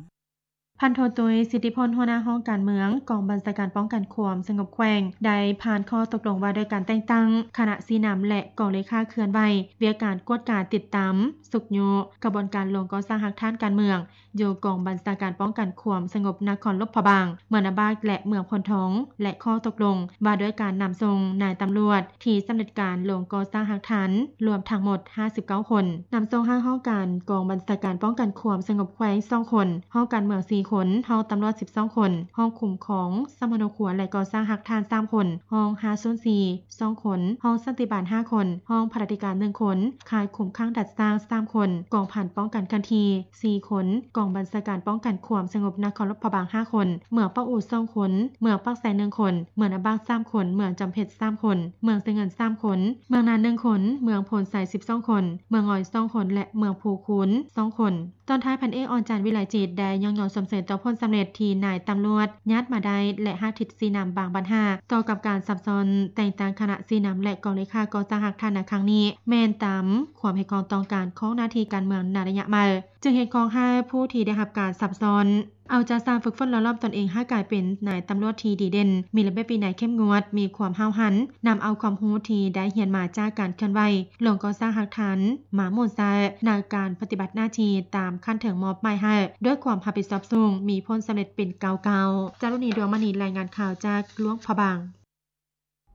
ພັນໂທ ຕຸ້ຍ ສິດທິພົນ ຫົວໜ້າຫ້ອງການເມືອງ ກອງບັນຊາການປ້ອງກັນຄວາມສະຫງົບແຂວງ ໄດ້ຜ່ານຂໍ້ຕົກລົງວ່າດ້ວຍການແຕ່ງຕັ້ງຄະນະຊີ້ນຳ ແລະ ກອງເລຂາເຄື່ອນໄຫວວຽກການກວດກາຕິດຕາມ, ຊຸກຍູ້ຂະບວນການລົງກໍ່ສ້າງຮາກຖານການເມືອງ ຢູ່ກອງບັນຊາການປ້ອງກັນຄວາມສະຫງົບນະຄອນຫຼວງພະບາງ, ເມືອງນາບາກ ແລະ ເມືອງໂພນທອງ ແລະ ຂໍ້ຕົກລົງວ່າດ້ວຍການນຳສົ່ງນາຍຕຳຫຼວດທີ່ສຳເລັດການລົງກໍ່ສ້າງຮາກຖານ ລວມທັງໝົດຫ້າສິບເກົ້າຄົນ, ນຳສົ່ງໃຫ້ຫ້ອງການກອງບັນຊາການປ້ອງກັນຄວາມສະຫງົບແຂວງສອງຄົນ, ຫ້ອງການເມືອງສີ່ ຄົນ, ຫ້ອງຕຳຫຼວດສິບສອງຄົນ, ຫ້ອງຄຸ້ມຄອງສຳມະໂນຄົວ ແລະ ກໍ່ສ້າງຮາກຖານສາມຄົນ, ຫ້ອງຫ້າສູນສີ່ສອງຄົນ, ຫ້ອງສັນຕິບານຫ້າຄົນ, ຫ້ອງພະລາທິການໜຶ່ງຄົນ, ຄ້າຍຄຸມຂັງດັດສ້າງສາມຄົນ, ກອງພັນປ້ອງກັນເຄື່ອນທີ່ສີ່ຄົນ, ກອງບັນຊາການປ້ອງກັນຄວາມສະຫງົບນະຄອນຫຼວງພະບາງຫ້າຄົນ, ເມືອງປາກອູສອງຄົນ, ເມືອງປາກໄຊໜຶ່ງຄົນ, ເມືອງນາບາກສາມຄົນ, ເມືອງຈຳເພັດສາມຄົນ, ເມືອງໄຊເງິນສາມຄົນ, ເມືອງນານໜຶ່ງຄົນ, ເມືອງໂພນໄຊສິບສອງຄົນ, ເມືອງງອຍສອງຄົນ ແລະ ເມືອງພູຄູນສອງຄົນ. ຕອນທ້າຍ ພັນເອກ ອອນຈັນ ວິໄລຈິດ ໄດ້ຍ້ອງຍໍຊົມເຊີຍຕໍ່ຜົນສຳເລັດທີ່ນາຍຕຳຫຼວດຍາດມາໄດ້ ແລະ ຮາກທິດຊີ້ນຳບາງບັນຫາ ຕໍ່ກັບການສັບຊ້ອນແຕ່ງຕັ້ງຄະນະຊີ້ນຳ ແລະ ກອງເລຂາກໍ່ສ້າງຮາກຖານໃນຄັ້ງນີ້ ແມ່ນຕາມຄວາມຮຽກຮ້ອງຕ້ອງການຂອງໜ້າທີ່ການເມືອງໃນໄລຍະໃໝ່, ຈຶ່ງຮຽກຮ້ອງໃຫ້ຜູ້ທີ່ໄດ້ຮັບການສັບຊ້ອນ ເອົາໃຈໃສ່ຝຶກຝົນຫຼໍ່ຫຼອມຕົນເອງໃຫ້ກາຍເປັນນາຍຕຳຫຼວດທີ່ດີເດັ່ນ, ມີລະບຽບວິໄນເຂັ້ມງວດ, ມີຄວາມຫ້າວຫັນ, ນຳເອົາຄວາມຮູ້ທີ່ໄດ້ຮຽນມາຈາກການເຄື່ອນໄຫວລົງກໍ່ສ້າງຮາກຖານມາໝູນໃຊ້ໃນການປະຕິບັດໜ້າທີ່ຕາມຂັ້ນເທິງມອບໝາຍໃຫ້ ດ້ວຍຄວາມຮັບຜິດຊອບສູງ, ມີຜົນສຳເລັດເປັນກ້າວໆ. ຈາລຸນີ ດວງມະນີ ລາຍງານຂ່າວຈາກຫຼວງພະບາງ.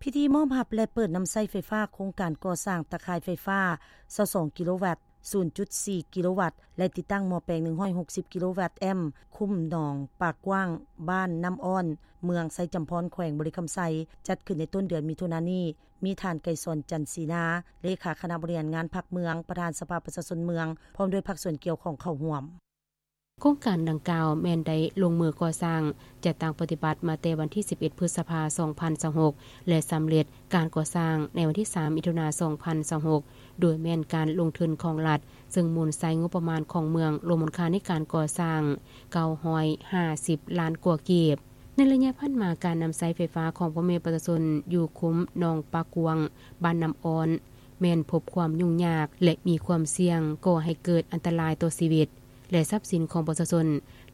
ພິທີມອບຮັບ ແລະ ເປີດນຳໃຊ້ໄຟຟ້າໂຄງການກໍ່ສ້າງຕາຂ່າຍໄຟຟ້າຊາວສອງກິໂລວັດ, ສູນຈຸດສີ່ກິໂລວັດ ແລະ ຕິດຕັ້ງໝໍ້ແປງໜຶ່ງຮ້ອຍຫົກສິບກິໂລວັດແອມ ຄຸ້ມໜອງປາກກວ້າງ, ບ້ານນ້ຳອ້ອນ, ເມືອງໄຊຈຳພອນ, ແຂວງບໍລິຄຳໄຊ, ຈັດຂຶ້ນໃນຕົ້ນເດືອນມິຖຸນານີ້. ມີທ່ານ ໄກສອນ ຈັນສີນາ, ເລຂາຄະນະບໍລິຫານງານພັກເມືອງ, ປະທານສະພາປະຊາຊົນເມືອງ, ພ້ອມດ້ວຍພາກສ່ວນກ່ຽວຂ້ອງເຂົ້າຮ່ວມ. ໂຄງການດັ່ງກ່າວແມ່ນໄດ້ລົງມືກໍ່ສ້າງ, ຈັດຕັ້ງປະຕິບັດມາແຕ່ວັນທີສິບເອັດ ພຶດສະພາ ສອງພັນຊາວຫົກ ແລະ ສຳເລັດການກໍ່ສ້າງໃນວັນທີສາມ ມິຖຸນາ ສອງພັນຊາວຫົກ ໂດຍແມ່ນການລົງທຶນຂອງລັດ, ເຊິ່ງໝູນໃຊ້ງົບປະມານຂອງເມືອງ, ລວມມູນຄ່າໃນການກໍ່ສ້າງ ເກົ້າຮ້ອຍຫ້າສິບລ້ານກວ່າກີບ. ໃນໄລຍະຜ່ານມາ, ການນຳໃຊ້ໄຟຟ້າຂອງພໍ່ແມ່ປະຊາຊົນຢູ່ຄຸ້ມໜອງປາກກວ້າງ, ບ້ານນ້ຳອ້ອນ, ແມ່ນພົບຄວາມຫຍຸ້ງຍາກ ແລະ ມີຄວາມສ່ຽງກໍ່ໃຫ້ເກີດອັນຕະລາຍຕໍ່ຊີວິດ ແລະ ຊັບສິນຂອງປະຊາຊົນ.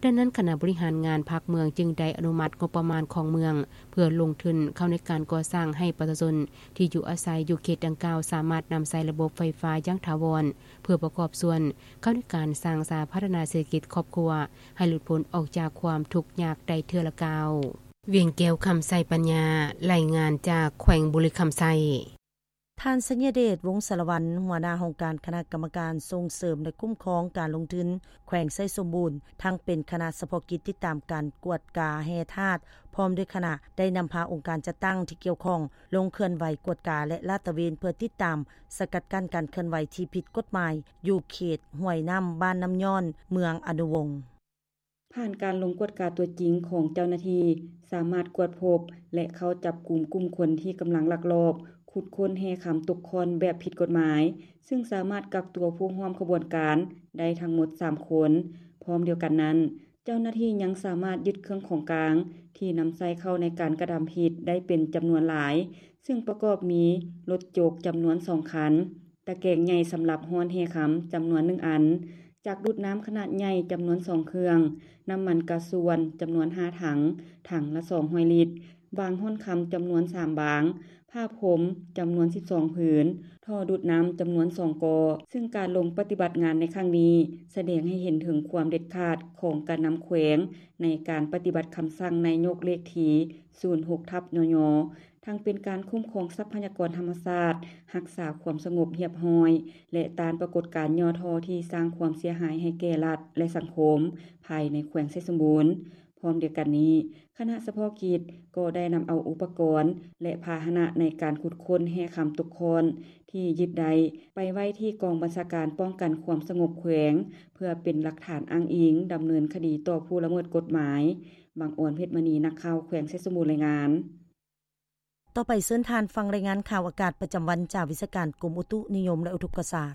ດັ່ງນັ້ນ, ຄະນະບໍລິຫານງານພັກເມືອງຈຶ່ງໄດ້ອະນຸມັດງົບປະມານຂອງເມືອງ ເພື່ອລົງທຶນເຂົ້າໃນການກໍ່ສ້າງໃຫ້ປະຊາຊົນທີ່ຢູ່ອາໄສຢູ່ເຂດດັ່ງກ່າວ ສາມາດນຳໃຊ້ລະບົບໄຟຟ້າຢ່າງຖາວອນ ເພື່ອປະກອບສ່ວນເຂົ້າໃນການສ້າງສາພັດທະນາເສດຖະກິດຄອບຄົວ ໃຫ້ຫຼຸດພົ້ນອອກຈາກຄວາມທຸກຍາກໄດ້ເທື່ອລະກ້າວ. ວຽງແກ້ວ ຄຳໄຊປັນຍາ, ລາຍງານຈາກແຂວງບໍລິຄຳໄຊ. ທ່ານ ໄຊຍະເດດ ວົງສາລະວັນ, ຫົວໜ້າຫ້ອງການຄະນະກຳມະການສົ່ງເສີມ ແລະ ຄຸ້ມຄອງການລົງທຶນແຂວງໄຊສົມບູນ, ທັງເປັນຄະນະສະເພາະກິດຕິດຕາມການກວດກາແຮ່ທາດ ພ້ອມດ້ວຍຄະນະ ໄດ້ນຳພາອົງການຈັດຕັ້ງທີ່ກ່ຽວຂ້ອງລົງເຄື່ອນໄຫວກວດກາ ແລະ ລາດຕະເວນ ເພື່ອຕິດຕາມສະກັດກັ້ນການເຄື່ອນໄຫວທີ່ຜິດກົດໝາຍ ຢູ່ເຂດຫ້ວຍນ້ຳ ບ້ານນ້ຳຍ້ອນ ເມືອງອະນຸວົງ. ຜ່ານການລົງກວດກາຕົວຈິງຂອງເຈົ້າໜ້າທີ່ ສາມາດກວດພົບ ແລະ ເຂົ້າຈັບກຸມກຸ່ມຄົນທີ່ກຳລັງລັກລອບຂຸດຄົ້ນແຮ່ຄຳຕົກຂ້ອນແບບຜິດກົດໝາຍ, ຊຶ່ງສາມາດກັກຕົວຜູ້ຮ່ວມຂະບວນການໄດ້ທັງໝົດສາມຄົນ. ພ້ອມດຽວກັນນັ້ນ, ເຈົ້າໜ້າທີ່ຍັງສາມາດຍຶດເຄື່ອງຂອງກາງທີ່ນຳໃຊ້ເຂົ້າໃນການກະທຳຜິດໄດ້ເປັນຈຳນວນຫຼາຍ, ຊຶ່ງປະກອບມີລົດຈົກຈຳນວນສອງຄັນ, ຕະແກງໃຫຍ່ສຳລັບຮ້ອນແຮ່ຄຳຈຳນວນໜຶ່ງອັນ, ຈັກດູດນ້ຳຂະໜາດໃຫຍ່ຈຳນວນສອງເຄື່ອງ, ນ້ຳມັນກາຊວນຈຳນວນຫ້າຖັງ, ຖັງລະສອງຮ້ອຍລິດ, ບາງຮ້ອນຄຳຈຳນວນສາມບາງ, ຜ້າພົມຈຳນວນສິບສອງຜືນ, ທໍ່ດູດນ້ຳຈຳນວນສອງກໍ, ຊຶ່ງການລົງປະຕິບັດງານໃນຄັ້ງນີ້ ສະແດງໃຫ້ເຫັນເຖິງຄວາມເດັດຂາດຂອງການນຳແຂວງ ໃນການປະຕິບັດຄຳສັ່ງນາຍົກເລກທີສູນຫົກທັບ ນຍ ທັງເປັນການຄຸ້ມຄອງຊັບພະຍາກອນທຳມະຊາດ, ຮັກສາຄວາມສະຫງົບຮຽບຮ້ອຍ ແລະ ຕ້ານປາກົດການຫຍໍ້ທໍ້ທີ່ສ້າງຄວາມເສຍຫາຍໃຫ້ແກ່ລັດ ແລະ ສັງຄົມພາຍໃນແຂວງໄຊສົມບູນ. ພ້ອມດຽວກັນນີ້, ຄະນະສະເພາະກິດກໍໄດ້ນຳເອົາອຸປະກອນ ແລະ ພາຫະນະໃນການຂຸດຄົ້ນແຮ່ຄຳຕົກຂ້ອນທີ່ຍຶດໄດ້ ໄປໄວ້ທີ່ກອງບັນຊາການປ້ອງກັນຄວາມສະຫງົບແຂວງ ເພື່ອເປັນຫຼັກຖານອ້າງອີງດຳເນີນຄະດີຕໍ່ຜູ້ລະເມີດກົດໝາຍ. ບັງອອນ ເພັດມະນີ, ນັກຂ່າວແຂວງໄຊສົມບູນ ລາຍງານ. ຕໍ່ໄປເຊີນທ່ານຟັງລາຍງານຂ່າວອາກາດປະຈຳວັນຈາກວິຊາການກົມອຸຕຸນິຍົມ ແລະ ອຸທົກກະສາດ.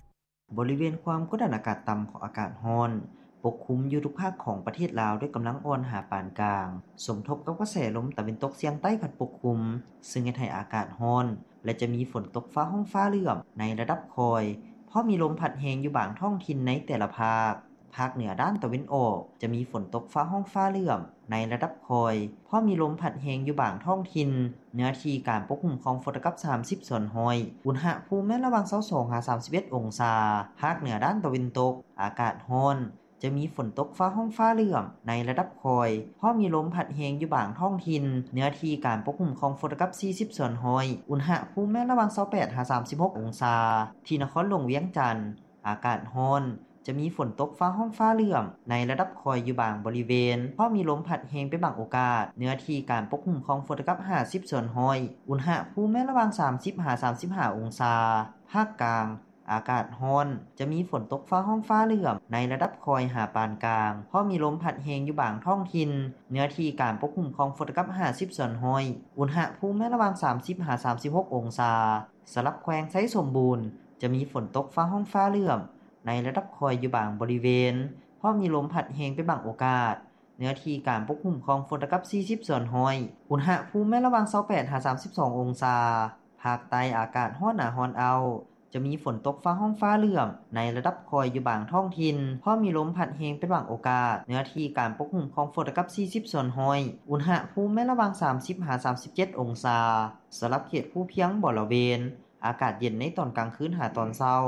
ບໍລິເວນຄວາມກົດດັນອາກາດຕ່ຳຂອງອາກາດຮ້ອນປົກຄຸມຢູ່ທຸກພາກຂອງປະເທດລາວດ້ວຍກຳລັງອ່ອນຫາປານກາງ, ສົມທົບກັບກະແສລົມຕາເວັນຕົກສຽງໃຕ້ພັດປົກຄຸມ, ຊຶ່ງເຮັດໃຫ້ອາກາດຮ້ອນ ແລະ ຈະມີຝົນຕົກຟ້າຮ້ອງຟ້າເຫຼື້ອມໃນລະດັບຄ່ອຍ, ເພາະມີລົມພັດແຮງຢູ່ບາງທ້ອງຖິ່ນໃນແຕ່ລະພາກ. ພາກເໜືອດ້ານຕາເວັນອອກ ຈະມີຝົນຕົກຟ້າຮ້ອງຟ້າເຫຼື້ອມໃນລະດັບຄ່ອຍ, ເພາະມີລົມພັດແຮງຢູ່ບາງທ້ອງຖິ່ນ, ເນື້ອທີ່ການປົກຄຸມຂອງຝົນຕະກັບສາມສິບສ່ວນຮ້ອຍ, ອຸນຫະພູມແມ່ນລະຫວ່າງຊາວສອງຫາສາມສິບເອັດອົງສາ. ພາກເໜືອດ້ານຕາເວັນຕົກ ອາກາດຮ້ອນ, ຈະມີຝົນຕົກຟ້າຮ້ອງຟ້າເຫຼື້ອມໃນລະດັບຄ່ອຍ, ເພາະມີລົມພັດແຮງຢູ່ບາງທ້ອງຖິ່ນ, ເນື້ອທີ່ການປົກຄຸມຂອງຝົນຕະກັບສີ່ສິບສ່ວນຮ້ອຍ, ອຸນຫະພູມແມ່ນລະຫວ່າງຊາວແປດຫາສາມສິບຫົກອົງສາ. ທີ່ນະຄອນຫຼວງວຽງຈັນ ອາກາດຮ້ອນ, ຈະມີຝົນຕົກຟ້າຮ້ອງຟ້າເຫຼື້ອມໃນລະດັບຄ່ອຍຢູ່ບາງບໍລິເວນ, ເພາະມີລົມພັດແຮງເປັນບາງໂອກາດ. ເນື້ອທີ່ການປົກຄຸມຂອງຝົນເທົ່າກັບຫ້າສິບສ່ວນຮ້ອຍ, ອຸນຫະພູມແມ່ນລະຫວ່າງສາມສິບຫາສາມສິບຫ້າອົງສາ. ພາກກາງ ອາກາດຮ້ອນ, ຈະມີຝົນຕົກຟ້າຮ້ອງຟ້າເຫຼື້ອມໃນລະດັບຄ່ອຍຫາປານກາງ, ເພາະມີລົມພັດແຮງຢູ່ບາງທ້ອງຖິ່ນ. ເນື້ອທີ່ການປົກຄຸມຂອງຝົນເທົ່າກັບຫ້າສິບສ່ວນຮ້ອຍ, ອຸນຫະພູມແມ່ນລະຫວ່າງສາມສິບຫາສາມສິບຫົກອົງສາ. ສຳລັບແຂວງໄຊສົມບູນ ຈະມີຝົນຕົກຟ້າຮ້ອງຟ້າເຫຼື້ອມໃນລະດັບຄ່ອຍຢູ່ບາງບໍລິເວນ, ເພາະມີລົມພັດແຮງເປັນບາງໂອກາດ. ເນື້ອທີ່ການປົກຄຸມຂອງຝົນເທົ່າກັບສີ່ສິບສ່ວນຮ້ອຍ, ອຸນຫະພູມແມ່ນລະຫວ່າງຊາວແປດຫາສາມສິບສອງອົງສາ. ພາກໃຕ້ອາກາດຮ້ອນໜາຮ້ອນເອົ້າ, ຈະມີຝົນຕົກຟ້າຮ້ອງຟ້າເຫຼື້ອມໃນລະດັບຄ່ອຍຢູ່ບາງທ້ອງຖິ່ນ, ເພາະມີລົມພັດແຮງເປັນບາງໂອກາດ. ເນື້ອທີ່ການປົກຄຸມຂອງຝົນເທົ່າກັບສີ່ສິບສ່ວນຮ້ອຍ, ອຸນຫະພູມແມ່ນລະຫວ່າງສາມສິບຫາສາມສິບເຈັດອົງສາ. ສຳລັບເຂດພູພຽງບໍລະເວນ, ອາກາດເຢັນໃນຕອນກາງຄືນຫາຕອນເຊົ້າ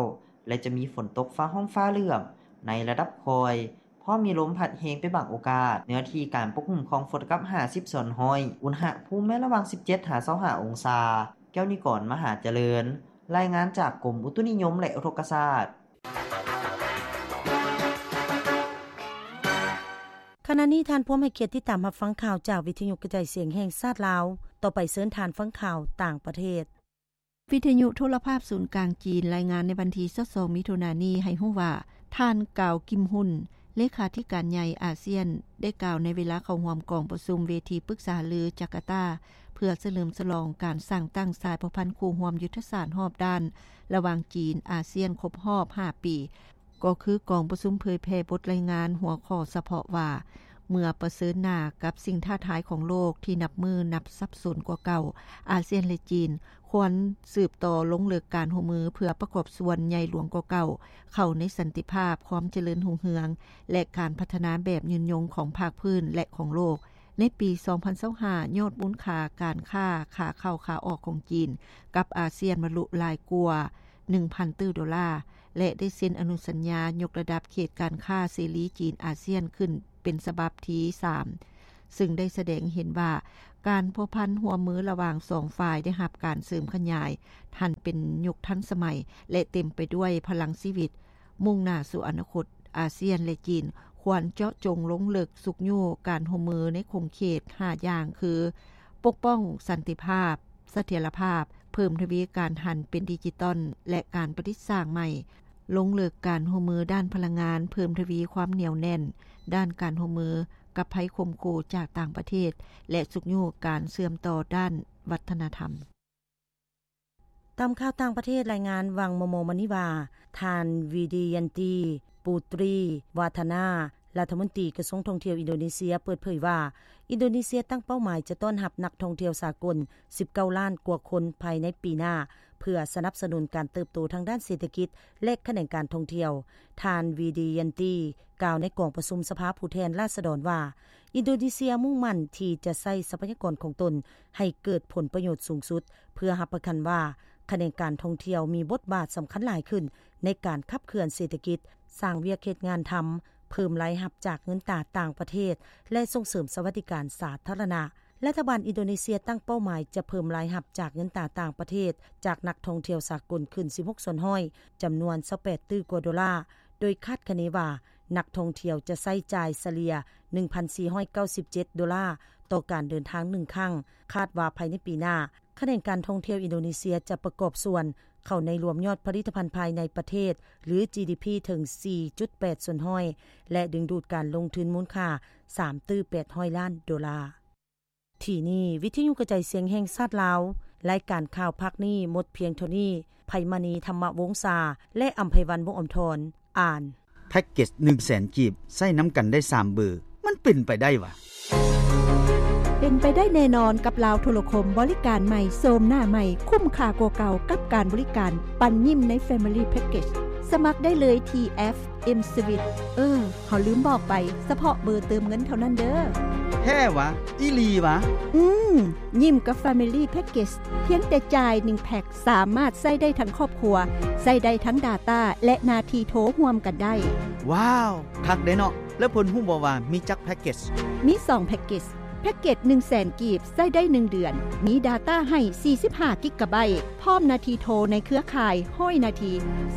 ແລະ ຈະມີຝົນຕົກຟ້າຮ້ອງຟ້າເຫຼື້ອມໃນລະດັບຄ່ອຍ, ເພາະມີລົມພັດແຮງເປັນບາງໂອກາດ. ເນື້ອທີ່ການປົກຄຸມຂອງຝົນເທົ່າກັບຫ້າສິບສ່ວນຮ້ອຍ, ອຸນຫະພູມແມ່ນລະຫວ່າງສິບເຈັດຫາຊາວຫ້າອົງສາ. ແກ້ວນິກອນ ມະຫາຈະເລີນ, ລາຍງານຈາກກົມອຸຕຸນິຍົມ ແລະ ອຸທົກກະສາດ. ຂະນະນີ້ທ່ານພວມໃຫ້ກຽດຕິດຕາມຮັບຟັງຂ່າວຈາກວິທະຍຸກະຈາຍສຽງແຫ່ງຊາດລາວ. ຕໍ່ໄປເຊີນທ່ານຟັງຂ່າວຕ່າງປະເທດ. ວິທະຍຸໂທລະພາບສູນກາງຈີນລາຍງານໃນວັນທີຊາວສອງ ມິຖຸນານີ້ໃຫ້ຮູ້ວ່າ ທ່ານ ກາວ ກິມຮຸນ ເລຂາທິການໃຫຍ່ອາຊຽນ ໄດ້ກ່າວໃນເວລາເຂົ້າຮ່ວມກອງປະຊຸມເວທີປຶກສາຫາລືຈາກາຕາ ເພື່ອສະເຫຼີມສະຫຼອງການສ້າງຕັ້ງສາຍພົວພັນຄູ່ຮ່ວມຍຸດທະສາດຮອບດ້ານ ລະຫວ່າງຈີນ-ອາຊຽນຄົບຮອບຫ້າປີ. ກໍຄືກອງປະຊຸມເຜີຍແຜ່ບົດລາຍງານຫົວຂໍ້ສະເພາະວ່າ ເມື່ອປະເຊີນໜ້າກັບສິ່ງທ້າທາຍຂອງໂລກທີ່ນັບມື້ນັບສັບສົນກວ່າເກົ່າ, ອາຊຽນ ແລະ ຈີນ ຄວນສືບຕໍ່ລົງເລິກການຮ່ວມມືເພື່ອປະກອບສ່ວນໃຫຍ່ຫຼວງກວ່າເກົ່າ ເຂົ້າໃນສັນຕິພາບ, ຄວາມຈະເລີນຮຸ່ງເຮືອງ ແລະ ການພັດທະນາແບບຍືນຍົງຂອງພາກພື້ນ ແລະ ຂອງໂລກ. ໃນປີສອງພັນຊາວຫ້າ ຍອດມູນຄ່າການຄ້າຂາເຂົ້າຂາອອກຂອງຈີນກັບອາຊຽນບັນລຸຫຼາຍກວ່າໜຶ່ງພັນຕື້ໂດລາ ແລະ ໄດ້ເຊັນອະນຸສັນຍາຍົກລະດັບເຂດການຄ້າເສລີຈີນອາຊຽນຂຶ້ນເປັນສະບັບທີສາມ ຊຶ່ງໄດ້ສະແດງເຫັນວ່າການພົວພັນຮ່ວມມືລະຫວ່າງສອງຝ່າຍໄດ້ຮັບການເສີມຂະຫຍາຍ, ຫັນເປັນຍຸກທັນສະໄໝ ແລະ ເຕັມໄປດ້ວຍພະລັງຊີວິດ. ມຸ່ງໜ້າສູ່ອະນາຄົດ, ອາຊຽນ ແລະ ຈີນ ຄວນເຈາະຈົງລົງເລິກຊຸກຍູ້ການຮ່ວມມືໃນຂົງເຂດຫ້າຢ່າງຄື ປົກປ້ອງສັນຕິພາບ, ສະຖຽນລະພາບ, ເພີ່ມທະວີການຫັນເປັນດິຈິຕອນ ແລະ ການປະດິດສ້າງໃໝ່, ລົງເລິກການຮ່ວມມືດ້ານພະລັງງານ, ເພີ່ມທະວີຄວາມໜຽວແໜ້ນດ້ານການຮ່ວມມືກັບໄພຂົ່ມຂູ່ຈາກຕ່າງປະເທດ ແລະ ຊຸກຍູ້ການເຊື່ອມຕໍ່ດ້ານວັດທະນະທຳ. ຕາມຂ່າວຕ່າງປະເທດລາຍງານຫວ່າງມໍ່ໆມານີ້ວ່າ ທ່ານ ວິດີຍັນຕີ ປູຕຣີ ວາທານາ ລັດຖະມົນຕີກະຊວງທ່ອງທ່ຽວອິນໂດເນເຊຍ ເປີດເຜີຍວ່າ ອິນໂດເນເຊຍຕັ້ງເປົ້າໝາຍຈະຕ້ອນຮັບນັກທ່ອງທ່ຽວສາກົນສິບເກົ້າລ້ານກວ່າຄົນພາຍໃນປີໜ້າ ເພື່ອສະໜັບສະໜູນການເຕີບໂຕທາງດ້ານເສດຖະກິດ ແລະ ຂະແໜງການທ່ອງທ່ຽວ. ທ່ານ ວິດີຍັນຕີ ກ່າວໃນກອງປະຊຸມສະພາຜູ້ແທນລາຊະດອນວ່າ ອິນໂດເນເຊຍມຸ່ງໝັ້ນທີ່ຈະໃຊ້ຊັບພະຍາກອນຂອງຕົນໃຫ້ເກີດຜົນປະໂຫຍດສູງສຸດ ເພື່ອຮັບປະກັນວ່າຂະແໜງການທ່ອງທ່ຽວມີບົດບາດສຳຄັນຫຼາຍຂຶ້ນໃນການຂັບເຄື່ອນເສດຖະກິດ, ສ້າງວຽກເຮັດງານທຳ, ເພີ່ມລາຍຮັບຈາກເງິນຕາຕ່າງປະເທດ ແລະ ສົ່ງເສີມສະຫວັດດີການສາທາລະນະ. ລັດຖະບານອິນໂດເນເຊຍຕັ້ງເປົ້າໝາຍຈະເພີ່ມລາຍຮັບຈາກເງິນຕາຕ່າງປະເທດຈາກນັກທ່ອງທ່ຽວສາກົນຂຶ້ນສິບຫົກສ່ວນຮ້ອຍ, ຈຳນວນຊາວແປດຕື້ກວ່າໂດລາ, ໂດຍຄາດຄະເນວ່າ ນັກທ່ອງທ່ຽວຈະໃຊ້ຈ່າຍສະເລ່ຍໜຶ່ງພັນສີ່ຮ້ອຍເກົ້າສິບເຈັດໂດລາຕໍ່ການເດີນທາງໜຶ່ງຄັ້ງ. ຄາດວ່າພາຍໃນປີໜ້າ, ຂະແໜງການທ່ອງທ່ຽວອິນໂດເນເຊຍຈະປະກອບສ່ວນເຂົ້າໃນລວມຍອດຜະລິດຕະພັນພາຍໃນປະເທດ ຫຼື ຈີດີພີ ເຖິງສີ່ຈຸດແປດສ່ວນຮ້ອຍ ແລະ ດຶງດູດການລົງທຶນມູນຄ່າສາມຕື້ແປດຮ້ອຍລ້ານໂດລາ. ທີ່ນີ້ ວິທະຍຸກະຈາຍສຽງແຫ່ງຊາດລາວ, ລາຍການຂ່າວພາກນີ້ໝົດພຽງເທົ່ານີ້. ໄພມະນີ ທຳມະວົງສາ ແລະ ອຳໄພວັນ ວົງອຳທອນ ອ່ານ. ແພັກເກັດໜຶ່ງແສນກີບ ໃຊ້ນຳກັນໄດ້ສາມເບີ ມັນເປັນໄປໄດ້ຫວາ? ເປັນໄປໄດ້ແນ່ນອນກັບລາວໂທລະຄົມ, ບໍລິການໃໝ່, ໂສມໜ້າໃໝ່, ຄຸ້ມຄ່າກວ່າເກົ່າກັບການບໍລິການ, ປັນຍິ້ມໃນ Family Package. ສະໝັກໄດ້ເລີຍທີ່ແອັບ M-Sweet. ເອີ, ເຮົາລືມບອກໄປ, ສະເພາະເບີເຕີມເງິນເທົ່ານັ້ນເດີ້. ແທ້ຫວາ? ອີ່ຫຼີຫວາ? ອືມ, ຍິ້ມກັບ Family Package. ພຽງແຕ່ຈ່າຍໜຶ່ງແພັກ, ສາມາດໃຊ້ໄດ້ທັງຄອບຄົວ, ໃຊ້ໄດ້ທັງ data ແລະ ໜ້າທີ່ໂທຮ່ວມກັນໄດ້. ວ້າວ, ຄັກເດ້ເນາະ. ແລ້ວເພິ່ນຮູ້ບໍ່ວ່າມີຈັກແພັກເກັດ? ມີສອງແພັກເກັດ. ແພັກເກັດໜຶ່ງແສນກີບ ໃຊ້ໄດ້ໜຶ່ງເດືອນ, ມີດາຕ້າໃຫ້ສີ່ສິບຫ້າກິກກະໄບ, ພ້ອມນາທີໂທໃນເຄືອຂ່າຍຮ້ອຍນາທີ,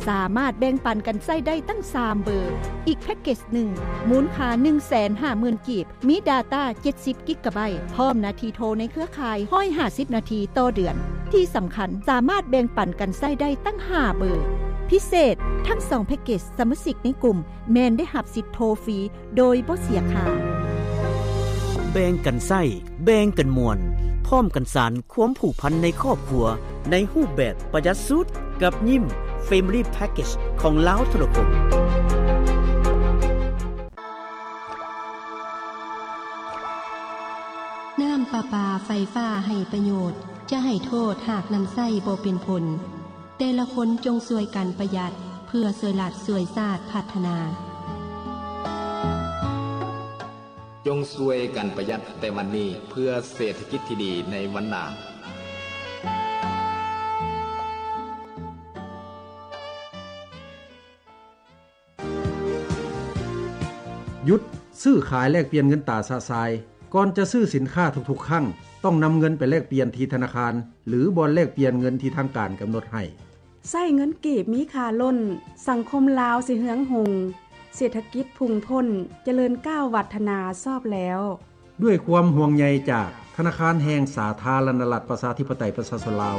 ສາມາດແບ່ງປັນກັນໃຊ້ໄດ້ຕັ້ງສາມເບີ. ອີກແພັກເກັດໜຶ່ງ ມູນຄ່າໜຶ່ງແສນຫ້າໝື່ນກີບ, ມີດາຕ້າເຈັດສິບກິກກະໄບ, ພ້ອມນາທີໂທໃນເຄືອຂ່າຍຮ້ອຍຫ້າສິບນາທີຕໍ່ເດືອນ. ທີ່ສຳຄັນ, ສາມາດແບ່ງປັນກັນໃຊ້ໄດ້ຕັ້ງຫ້າເບີ. ພິເສດ, ທັງສອງແພັກເກັດສະມາຊິກໃນກຸ່ມ ແມ່ນໄດ້ຮັບສິດໂທຟຣີໂດຍບໍ່ເສຍຄ່າ. ແບ່ງກັນໃຊ້, ແບ່ງກັນມ່ວນ, ພ້ອມກັນສານຄວາມຜູກພັນໃນຄອບຄົວ ໃນຮູບແບບປະຢັດສຸດກັບຍິ້ມ Family Package ຂອງລາວໂທລະຄົມ. ນ້ຳປະປາໄຟຟ້າໃຫ້ປະໂຫຍດ, ຈະໃຫ້ໂທດຫາກນຳໃຊ້ບໍ່ເປັນຜົນ. ແຕ່ລະຄົນຈົ່ງຊ່ວຍກັນປະຢັດ ເພື່ອຊ່ວຍລັດຊ່ວຍຊາດພັດທະນາ. ຈົ່ງຊ່ວຍກັນປະຢັດແຕ່ວັນນີ້ ເພື່ອເສດຖະກິດທີ່ດີໃນວັນໜ້າ. ຢຸດຊື້ຂາຍແລກປ່ຽນເງິນຕາຊະຊາຍ. ກ່ອນຈະຊື້ສິນຄ້າທຸກໆຄັ້ງ, ຕ້ອງນຳເງິນໄປແລກປ່ຽນທີ່ທະນາຄານ ຫຼື ບ່ອນແລກປ່ຽນເງິນທີ່ທາງການກຳນົດໃຫ້. ໃຊ້ເງິນກີບມີຄ່າລົ້ນ, ສັງຄົມລາວຊິເຮືອງຮຸ່ງ, ເສດຖະກິດພຸ່ງພົ້ນ, ຈະເລີນກ້າວວັດທະນາຊອບແລ້ວ. ດ້ວຍຄວາມຫ່ວງໃຍຈາກທະນາຄານແຫ່ງສາທາລະນະລັດ ປະຊາທິປະໄຕ ປະຊາຊົນລາວ.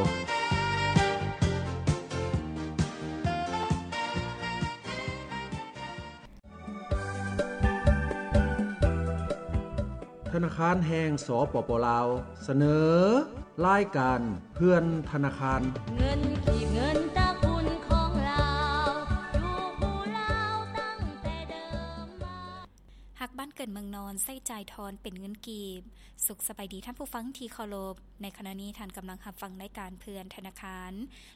ທະນາຄານແຫ່ງ ສປປ ລາວ ສະເໜີ ລາຍການເພື່ອນທະນາຄານ. ເງິນກີບ ເງິນຕະກຸນຂອງລາວ ຢູ່ຜູ້ລາວຕັ້ງແຕ່ເດີມມາ. ຮັກບ້ານເກີດເມືອງນອນ ໃຊ້ຈ່າຍທອນເປັນເງິນກີບ. ສຸກສະບາຍດີທ່ານຜູ້ຟັງທີ່ເຄົາລົບ. ໃນຂະນະນີ້ທ່ານກຳລັງຮັບຟັງລາຍການເພື່ອນທະນາຄານ.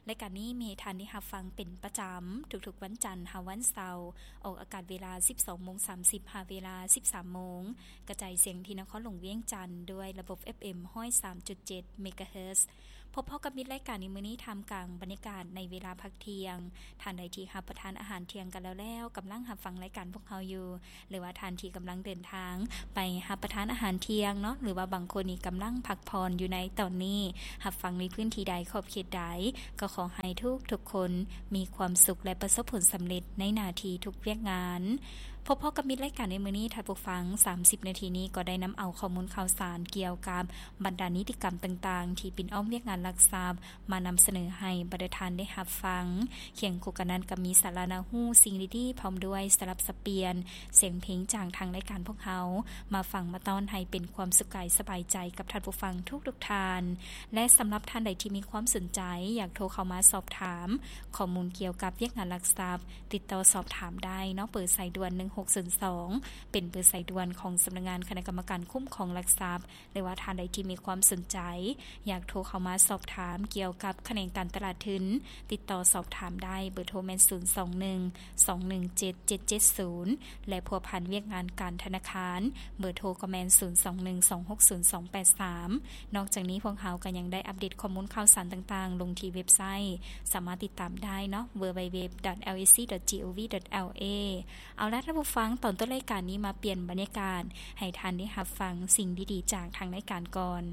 ລາຍການນີ້ມີໃຫ້ທ່ານໄດ້ຮັບຟັງເປັນປະຈຳ ທຸກໆວັນຈັນຫາວັນເສົາ, ອອກອາກາດເວລາສິບສອງໂມງສາມສິບ ຫາເວລາສິບສາມໂມງ, ກະຈາຍສຽງທີ່ນະຄອນຫຼວງວຽງຈັນ ດ້ວຍລະບົບ ເອັຟເອັມ ຮ້ອຍສາມຈຸດເຈັດ ເມກາເຮີດ. ພົບພໍ້ກັບມິດລາຍການໃນມື້ນີ້ ທ່າມກາງບັນຍາກາດໃນເວລາພັກທ່ຽງ. ທ່ານໃດທີ່ຮັບປະທານອາຫານທ່ຽງກັນແລ້ວໆ ກຳລັງຮັບຟັງລາຍການພວກເຮົາຢູ່, ຫຼືວ່າທ່ານທີ່ກຳລັງເດີນທາງໄປຮັບປະທານອາຫານທ່ຽງເນາະ, ຫຼືວ່າບາງຄົນນີ້ກຳລັງພັກຜ່ອນຢູ່ໃນຕອນນີ້, ຮັບຟັງໃນພື້ນທີ່ໃດ, ຂອບເຂດໃດ, ກໍຂໍໃຫ້ທຸກໆຄົນມີຄວາມສຸກ ແລະ ປະສົບຜົນສຳເລັດໃນໜ້າທີ່ທຸກວຽກງານ. ພົບພໍ້ກັບມິດລາຍການໃນມື້ນີ້ ທ່ານຜູ້ຟັງ, ສາມສິບນາທີນີ້ກໍໄດ້ນຳເອົາຂໍ້ມູນຂ່າວສານກ່ຽວກັບບັນດານິຕິກຳຕ່າງໆ ທີ່ປິ່ນອ້ອມວຽກງານລັກຊັບ ມານຳສະເໜີໃຫ້ບັນດາທ່ານໄດ້ຮັບຟັງ. ຄຽງຄູ່ກັນນັ້ນກໍມີສາລະໜ້າຮູ້, ສິ່ງດີໆ ພ້ອມດ້ວຍສະຫຼັບສັບປ່ຽນສຽງເພງຈາກທາງລາຍການພວກເຮົາ ມາຟັງມາຕ້ອນໃຫ້ເປັນຄວາມສຸກກາຍສະບາຍໃຈກັບທ່ານຜູ້ຟັງທຸກໆທ່ານ. ແລະ ສຳລັບທ່ານໃດທີ່ມີຄວາມສົນໃຈ ຢາກໂທເຂົ້າມາສອບຖາມຂໍ້ມູນກ່ຽວກັບວຽກງານຫຼັກຊັບ, ຕິດຕໍ່ສອບຖາມໄດ້ເນາະ, ເບີສາຍດ່ວນໜຶ່ງຫົກສູນສອງ ເປັນເບີສາຍດ່ວນຂອງສຳນັກງານຄະນະກຳມະການຄຸ້ມຄອງຫຼັກຊັບ. ຫຼືວ່າທ່ານໃດທີ່ມີຄວາມສົນໃຈ ຢາກໂທເຂົ້າມາສອບຖາມກ່ຽວກັບຂະແໜງການຕະຫຼາດທຶນ, ຕິດຕໍ່ສອບຖາມໄດ້, ເບີໂທແມ່ນ ສູນສອງໜຶ່ງ ສອງໜຶ່ງເຈັດ ເຈັດເຈັດສູນ ແລະ ພົວພັນວຽກງານການທະນາຄານ, ເບີໂທກໍແມ່ນ ສູນສອງໜຶ່ງ ສອງຫົກສູນ ສອງແປດສາມ. ນອກຈາກນີ້ພວກເຮົາກໍຍັງໄດ້ອັບເດດຂໍ້ມູນຂ່າວສານຕ່າງໆ ລົງທີ່ເວັບໄຊ, ສາມາດຕິດຕາມໄດ້ເນາະ, ເວີເອັບເອັບເອັບ ດອດ ແອລ ເອ ຊີ ດອດ ຈີ ໂອ ວີ ດອດ ແອລ ເອ. ເອົາລະທ່ານຜູ້ຟັງ, ຕອນຕົ້ນລາຍການນີ້ມາປ່ຽນບັນຍາກາດໃຫ້ທ່ານໄດ້ຮັບຟັງສິ່ງດີໆຈາກທາງລາຍການກ່ອນ.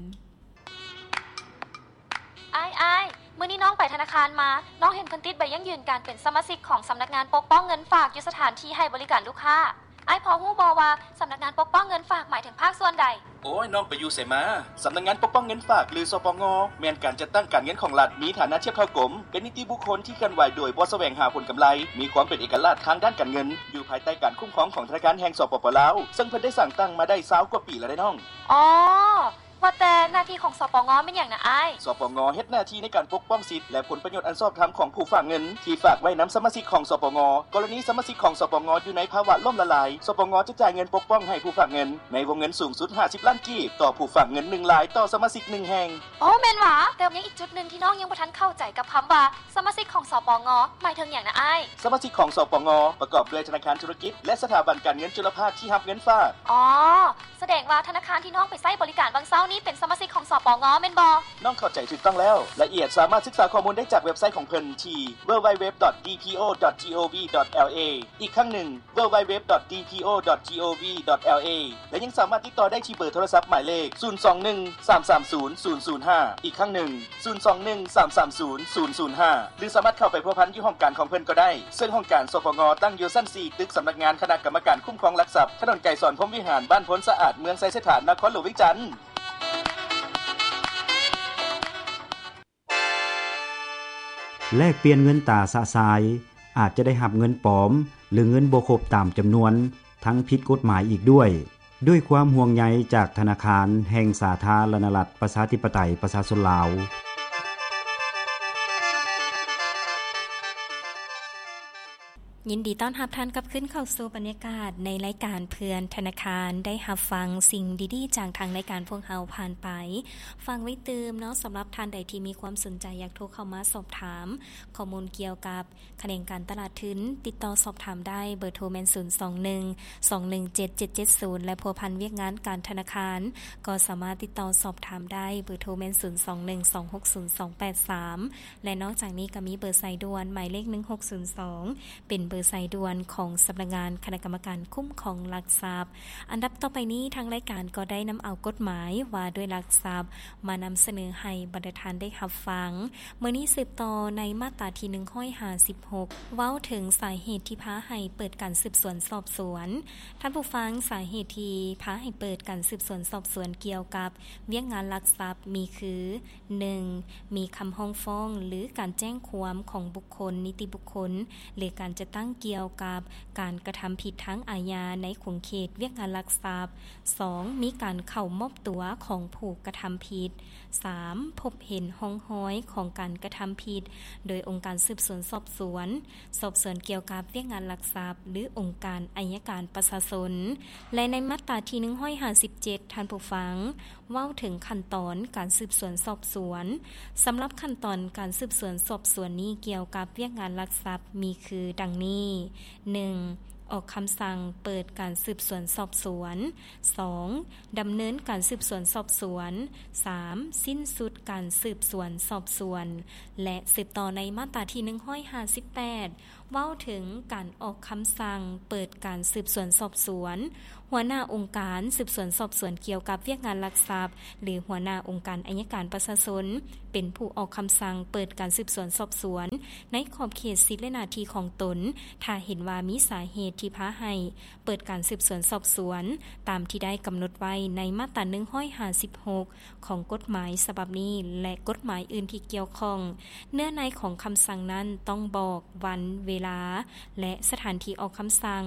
ອ້າຍ, ອ້າຍ, ມື້ນີ້ນ້ອງໄປທະນາຄານມາ, ນ້ອງເຫັນເພິ່ນຕິດໃບຢັ້ງຢືນການເປັນສະມາຊິກຂອງສຳນັກງານປົກປ້ອງເງິນຝາກຢູ່ສະຖານທີ່ໃຫ້ບໍລິການລູກຄ້າ. ອ້າຍພໍຮູ້ບໍ່ວ່າສຳນັກງານປົກປ້ອງເງິນຝາກໝາຍເຖິງພາກສ່ວນໃດ? ໂອ້ຍ, ນ້ອງໄປຢູ່ໃສມາ? ສຳນັກງານປົກປ້ອງເງິນຝາກ ຫຼື ສປງ ແມ່ນການຈັດຕັ້ງການເງິນຂອງລັດ, ມີຖານະທຽບເທົ່າກົມ, ເປັນນິຕິບຸກຄົນທີ່ເຄື່ອນໄຫວໂດຍບໍ່ສະແຫວງຫາຜົນກຳໄລ, ມີຄວາມເປັນເອກະລາດທາງດ້ານການເງິນ, ຢູ່ພາຍໃຕ້ການຄຸ້ມຄອງຂອງທະນາຄານແຫ່ງ ສປປ ລາວ, ເຊິ່ງເພິ່ນໄດ້ສ້າງຕັ້ງມາໄດ້ຊາວກວ່າປີແລ້ວເດ້ນ້ອງ. ອໍ ວ່າແຕ່ໜ້າທີ່ຂອງ ສປງ ແມ່ນຫຍັງນະອ້າຍ? ສປງ ເຮັດໜ້າທີ່ໃນການປົກປ້ອງສິດ ແລະ ຜົນປະໂຫຍດອັນຊອບທຳຂອງຜູ້ຝາກເງິນທີ່ຝາກໄວ້ນຳສະມາຊິກຂອງ ສປງ. ກໍລະນີສະມາຊິກຂອງ ສປງ ຢູ່ໃນພາວະລົ້ມລະລາຍ, ສປງ ຈະຈ່າຍເງິນປົກປ້ອງໃຫ້ຜູ້ຝາກເງິນໃນວົງເງິນສູງສຸດຫ້າສິບລ້ານກີບ ຕໍ່ຜູ້ຝາກເງິນໜຶ່ງລາຍຕໍ່ສະມາຊິກໜຶ່ງແຫ່ງ. ໂອ້ ແມ່ນຫວາ? ແຕ່ຍັງອີກຈຸດໜຶ່ງທີ່ນ້ອງຍັງບໍ່ທັນເຂົ້າໃຈກັບຄຳວ່າ ສະມາຊິກຂອງ ສປງ ໝາຍເຖິງຫຍັງນະອ້າຍ? ສະມາຊິກຂອງ ສປງ ປະກອບດ້ວຍທະນາຄານທຸລະກິດ ແລະ ສະຖາບັນການເງິນຈຸລະພາກທີ່ຮັບເງິນຝາກ. ອໍ ສະແດງວ່າທະນາຄານທີ່ນ້ອງໄປໃຊ້ບໍລິການຫວ່າງເຊົ້າ ນີ້ເປັນສະມາຊິກຂອງ ສປງ ແມ່ນບໍ່? ນ້ອງເຂົ້າໃຈຖືກຕ້ອງແລ້ວ. ລາຍລະອຽດສາມາດສຶກສາຂໍ້ມູນໄດ້ຈາກເວັບໄຊຂອງເພິ່ນທີ່ www.dpo.gov.la ອີກຄັ້ງໜຶ່ງ www.dpo.gov.la ແລະ ຍັງສາມາດຕິດຕໍ່ໄດ້ທີ່ເບີໂທລະສັບໝາຍເລກ ສູນສອງໜຶ່ງ ສາມສາມສູນ ສູນສູນຫ້າ ອີກຄັ້ງໜຶ່ງ ສູນສອງໜຶ່ງ ສາມສາມສູນ ສູນສູນຫ້າ ຫຼື ສາມາດເຂົ້າໄປພົວພັນຢູ່ຫ້ອງການຂອງເພິ່ນກໍໄດ້, ເຊິ່ງຫ້ອງການ ສປງ ຕັ້ງຢູ່ຊັ້ນສີ່ ຕຶກສຳນັກງານຄະນະກຳມະການຄຸ້ມຄອງຫຼັກຊັບ, ຖະໜົນໄກສອນ ພົມວິຫານ, ບ້ານໂພນສະອາດ, ເມືອງໄຊເສດຖາ, ນະຄອນຫຼວງວຽງຈັນ. ແລກປ່ຽນເງິນຕາຊະຊາຍ ອາດຈະໄດ້ຮັບເງິນປອມ ຫຼື ເງິນບໍ່ຄົບຕາມຈຳນວນ ທັງຜິດກົດໝາຍອີກດ້ວຍ. ດ້ວຍຄວາມຫ່ວງໃຍຈາກທະນາຄານແຫ່ງສາທາລະນະລັດ ປະຊາທິປະໄຕ ປະຊາຊົນລາວ. ຍິນດີຕ້ອນຮັບທ່ານກັບຄືນເຂົ້າສູ່ບັນຍາກາດໃນລາຍການເພື່ອນທະນາຄານ. ໄດ້ຮັບຟັງສິ່ງດີໆຈາກທາງລາຍການພວກເຮົາຜ່ານໄປ. ຝາກໄວ້ຕື່ມເນາະ, ສຳລັບທ່ານໃດທີ່ມີຄວາມສົນໃຈຢາກໂທເຂົ້າມາສອບຖາມຂໍ້ມູນກ່ຽວກັບຂະແໜງການຕະຫຼາດທຶນ, ຕິດຕໍ່ສອບຖາມໄດ້, ເບີໂທແມ່ນ ສູນສອງໜຶ່ງ ສອງໜຶ່ງເຈັດ ເຈັດເຈັດສູນ ແລະ ພົວພັນວຽກງານການທະນາຄານ ກໍສາມາດຕິດຕໍ່ສອບຖາມໄດ້, ເບີໂທແມ່ນ ສູນສອງໜຶ່ງ ສອງຫົກສູນ ສອງແປດສາມ ແລະ ນອກຈາກນີ້ກໍມີເບີສາຍດ່ວນໝາຍເລກ ໜຶ່ງຫົກສູນສອງ ເປັນເບີສາຍດ່ວນຂອງສຳນັກງານຄະນະກຳມະການຄຸ້ມຄອງຫຼັກຊັບ. ອັນດັບຕໍ່ໄປນີ້ ທາງລາຍການກໍໄດ້ນຳເອົາກົດໝາຍວ່າດ້ວຍຫຼັກຊັບ ມານຳສະເໜີໃຫ້ບັນດາທ່ານໄດ້ຮັບຟັງ. ມື້ນີ້ສືບຕໍ່ໃນມາດຕາທີ ໜຶ່ງຮ້ອຍຫ້າສິບຫົກ ເວົ້າເຖິງສາເຫດທີ່ພາໃຫ້ເປີດການສືບສວນສອບສວນ. ທ່ານຜູ້ຟັງ, ສາເຫດທີ່ພາໃຫ້ເປີດການສືບສວນສອບສວນກ່ຽວກັບວຽກງານລັກຊັບມີຄື ໜຶ່ງ ມີຄຳຮ້ອງຟ້ອງ ຫຼື ການແຈ້ງຄວາມຂອງບຸກຄົນ, ນິຕິບຸກຄົນ ຫຼື ການຈັດຕັ້ງກ່ຽວກັບການກະທຳຜິດທາງອາຍາໃນຂົງເຂດວຽກງານລັກຊັບ. ສອງ ມີການເຂົ້າມອບຕົວຂອງຜູ້ກະທຳຜິດ. ສາມ ພົບເຫັນຮ່ອງຮອຍຂອງການກະທຳຜິດໂດຍອົງການສືບສວນສອບສວນ, ສອບສວນກ່ຽວກັບວຽກງານລັກຊັບ ຫຼື ອົງການໄອຍະການປະຊາຊົນ. ແລະ ໃນມາດຕາທີ ໜຶ່ງຮ້ອຍຫ້າສິບເຈັດ ທ່ານຜູ້ຟັງ, ເວົ້າເຖິງຂັ້ນຕອນການສືບສວນສອບສວນ. ສຳລັບຂັ້ນຕອນການສືບສວນສອບສວນນີ້ກ່ຽວກັບວຽກງານລັກຊັບມີຄືດັ່ງນີ້, ໜຶ່ງ ອອກຄຳສັ່ງເປີດການສືບສວນສອບສວນ, ສອງ ດຳເນີນການສືບສວນສອບສວນ, ສາມ ສິ້ນສຸດການສືບສວນສອບສວນ. ແລະ ສືບຕໍ່ໃນມາດຕາທີ ໜຶ່ງຮ້ອຍຫ້າສິບແປດ ເວົ້າເຖິງການອອກຄຳສັ່ງເປີດການສືບສວນສອບສວນ. ຫົວໜ້າອົງການສືບສວນສອບສວນກ່ຽວກັບວຽກງານລັກຊັບ ຫຼື ຫົວໜ້າອົງການໄອຍະການປະຊາຊົນ ເປັນຜູ້ອອກຄຳສັ່ງເປີດການສືບສວນສອບສວນໃນຂອບເຂດສິດ ແລະ ໜ້າທີ່ຂອງຕົນ, ຖ້າເຫັນວ່າມີສາເຫດທີ່ພາໃຫ້ເປີດການສືບສວນສອບສວນ ຕາມທີ່ໄດ້ກຳນົດໄວ້ໃນມາດຕາ ໜຶ່ງຮ້ອຍຫ້າສິບຫົກ ຂອງກົດໝາຍສະບັບນີ້ ແລະ ກົດໝາຍອື່ນທີ່ກ່ຽວຂ້ອງ. ເນື້ອໃນຂອງຄຳສັ່ງນັ້ນຕ້ອງບອກວັນ, ເວລາ ແລະ ສະຖານທີ່ອອກຄຳສັ່ງ,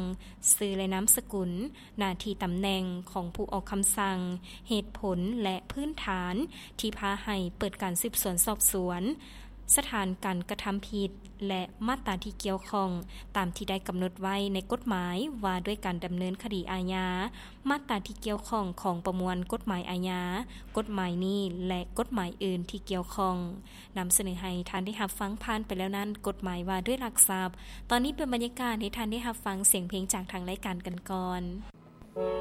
ຊື່ ແລະ ນາມສະກຸນ, ໜ້າທີ່ຕຳແໜ່ງຂອງຜູ້ອອກຄຳສັ່ງ, ເຫດຜົນ ແລະ ພື້ນຖານທີ່ພາໃຫ້ເປີດການສືບສວນສອບສວນ, ສະຖານການກະທຳຜິດ ແລະ ມາດຕາທີ່ກ່ຽວຂ້ອງ ຕາມທີ່ໄດ້ກຳນົດໄວ້ໃນກົດໝາຍວ່າດ້ວຍການດຳເນີນຄະດີອາຍາ, ມາດຕາທີ່ກ່ຽວຂ້ອງຂອງປະມວນກົດໝາຍອາຍາ, ກົດໝາຍນີ້ ແລະ ກົດໝາຍອື່ນທີ່ກ່ຽວຂ້ອງ. ນຳສະເໜີໃຫ້ທ່ານໄດ້ຮັບຟັງຜ່ານໄປແລ້ວນັ້ນ ກົດໝາຍວ່າດ້ວຍຫຼັກຊັບ. ຕອນນີ້ເປັນບັນຍາກາດໃຫ້ທ່ານໄດ້ຮັບຟັງສຽງເພງຈາກທາງລາຍການກັນກ່ອນ.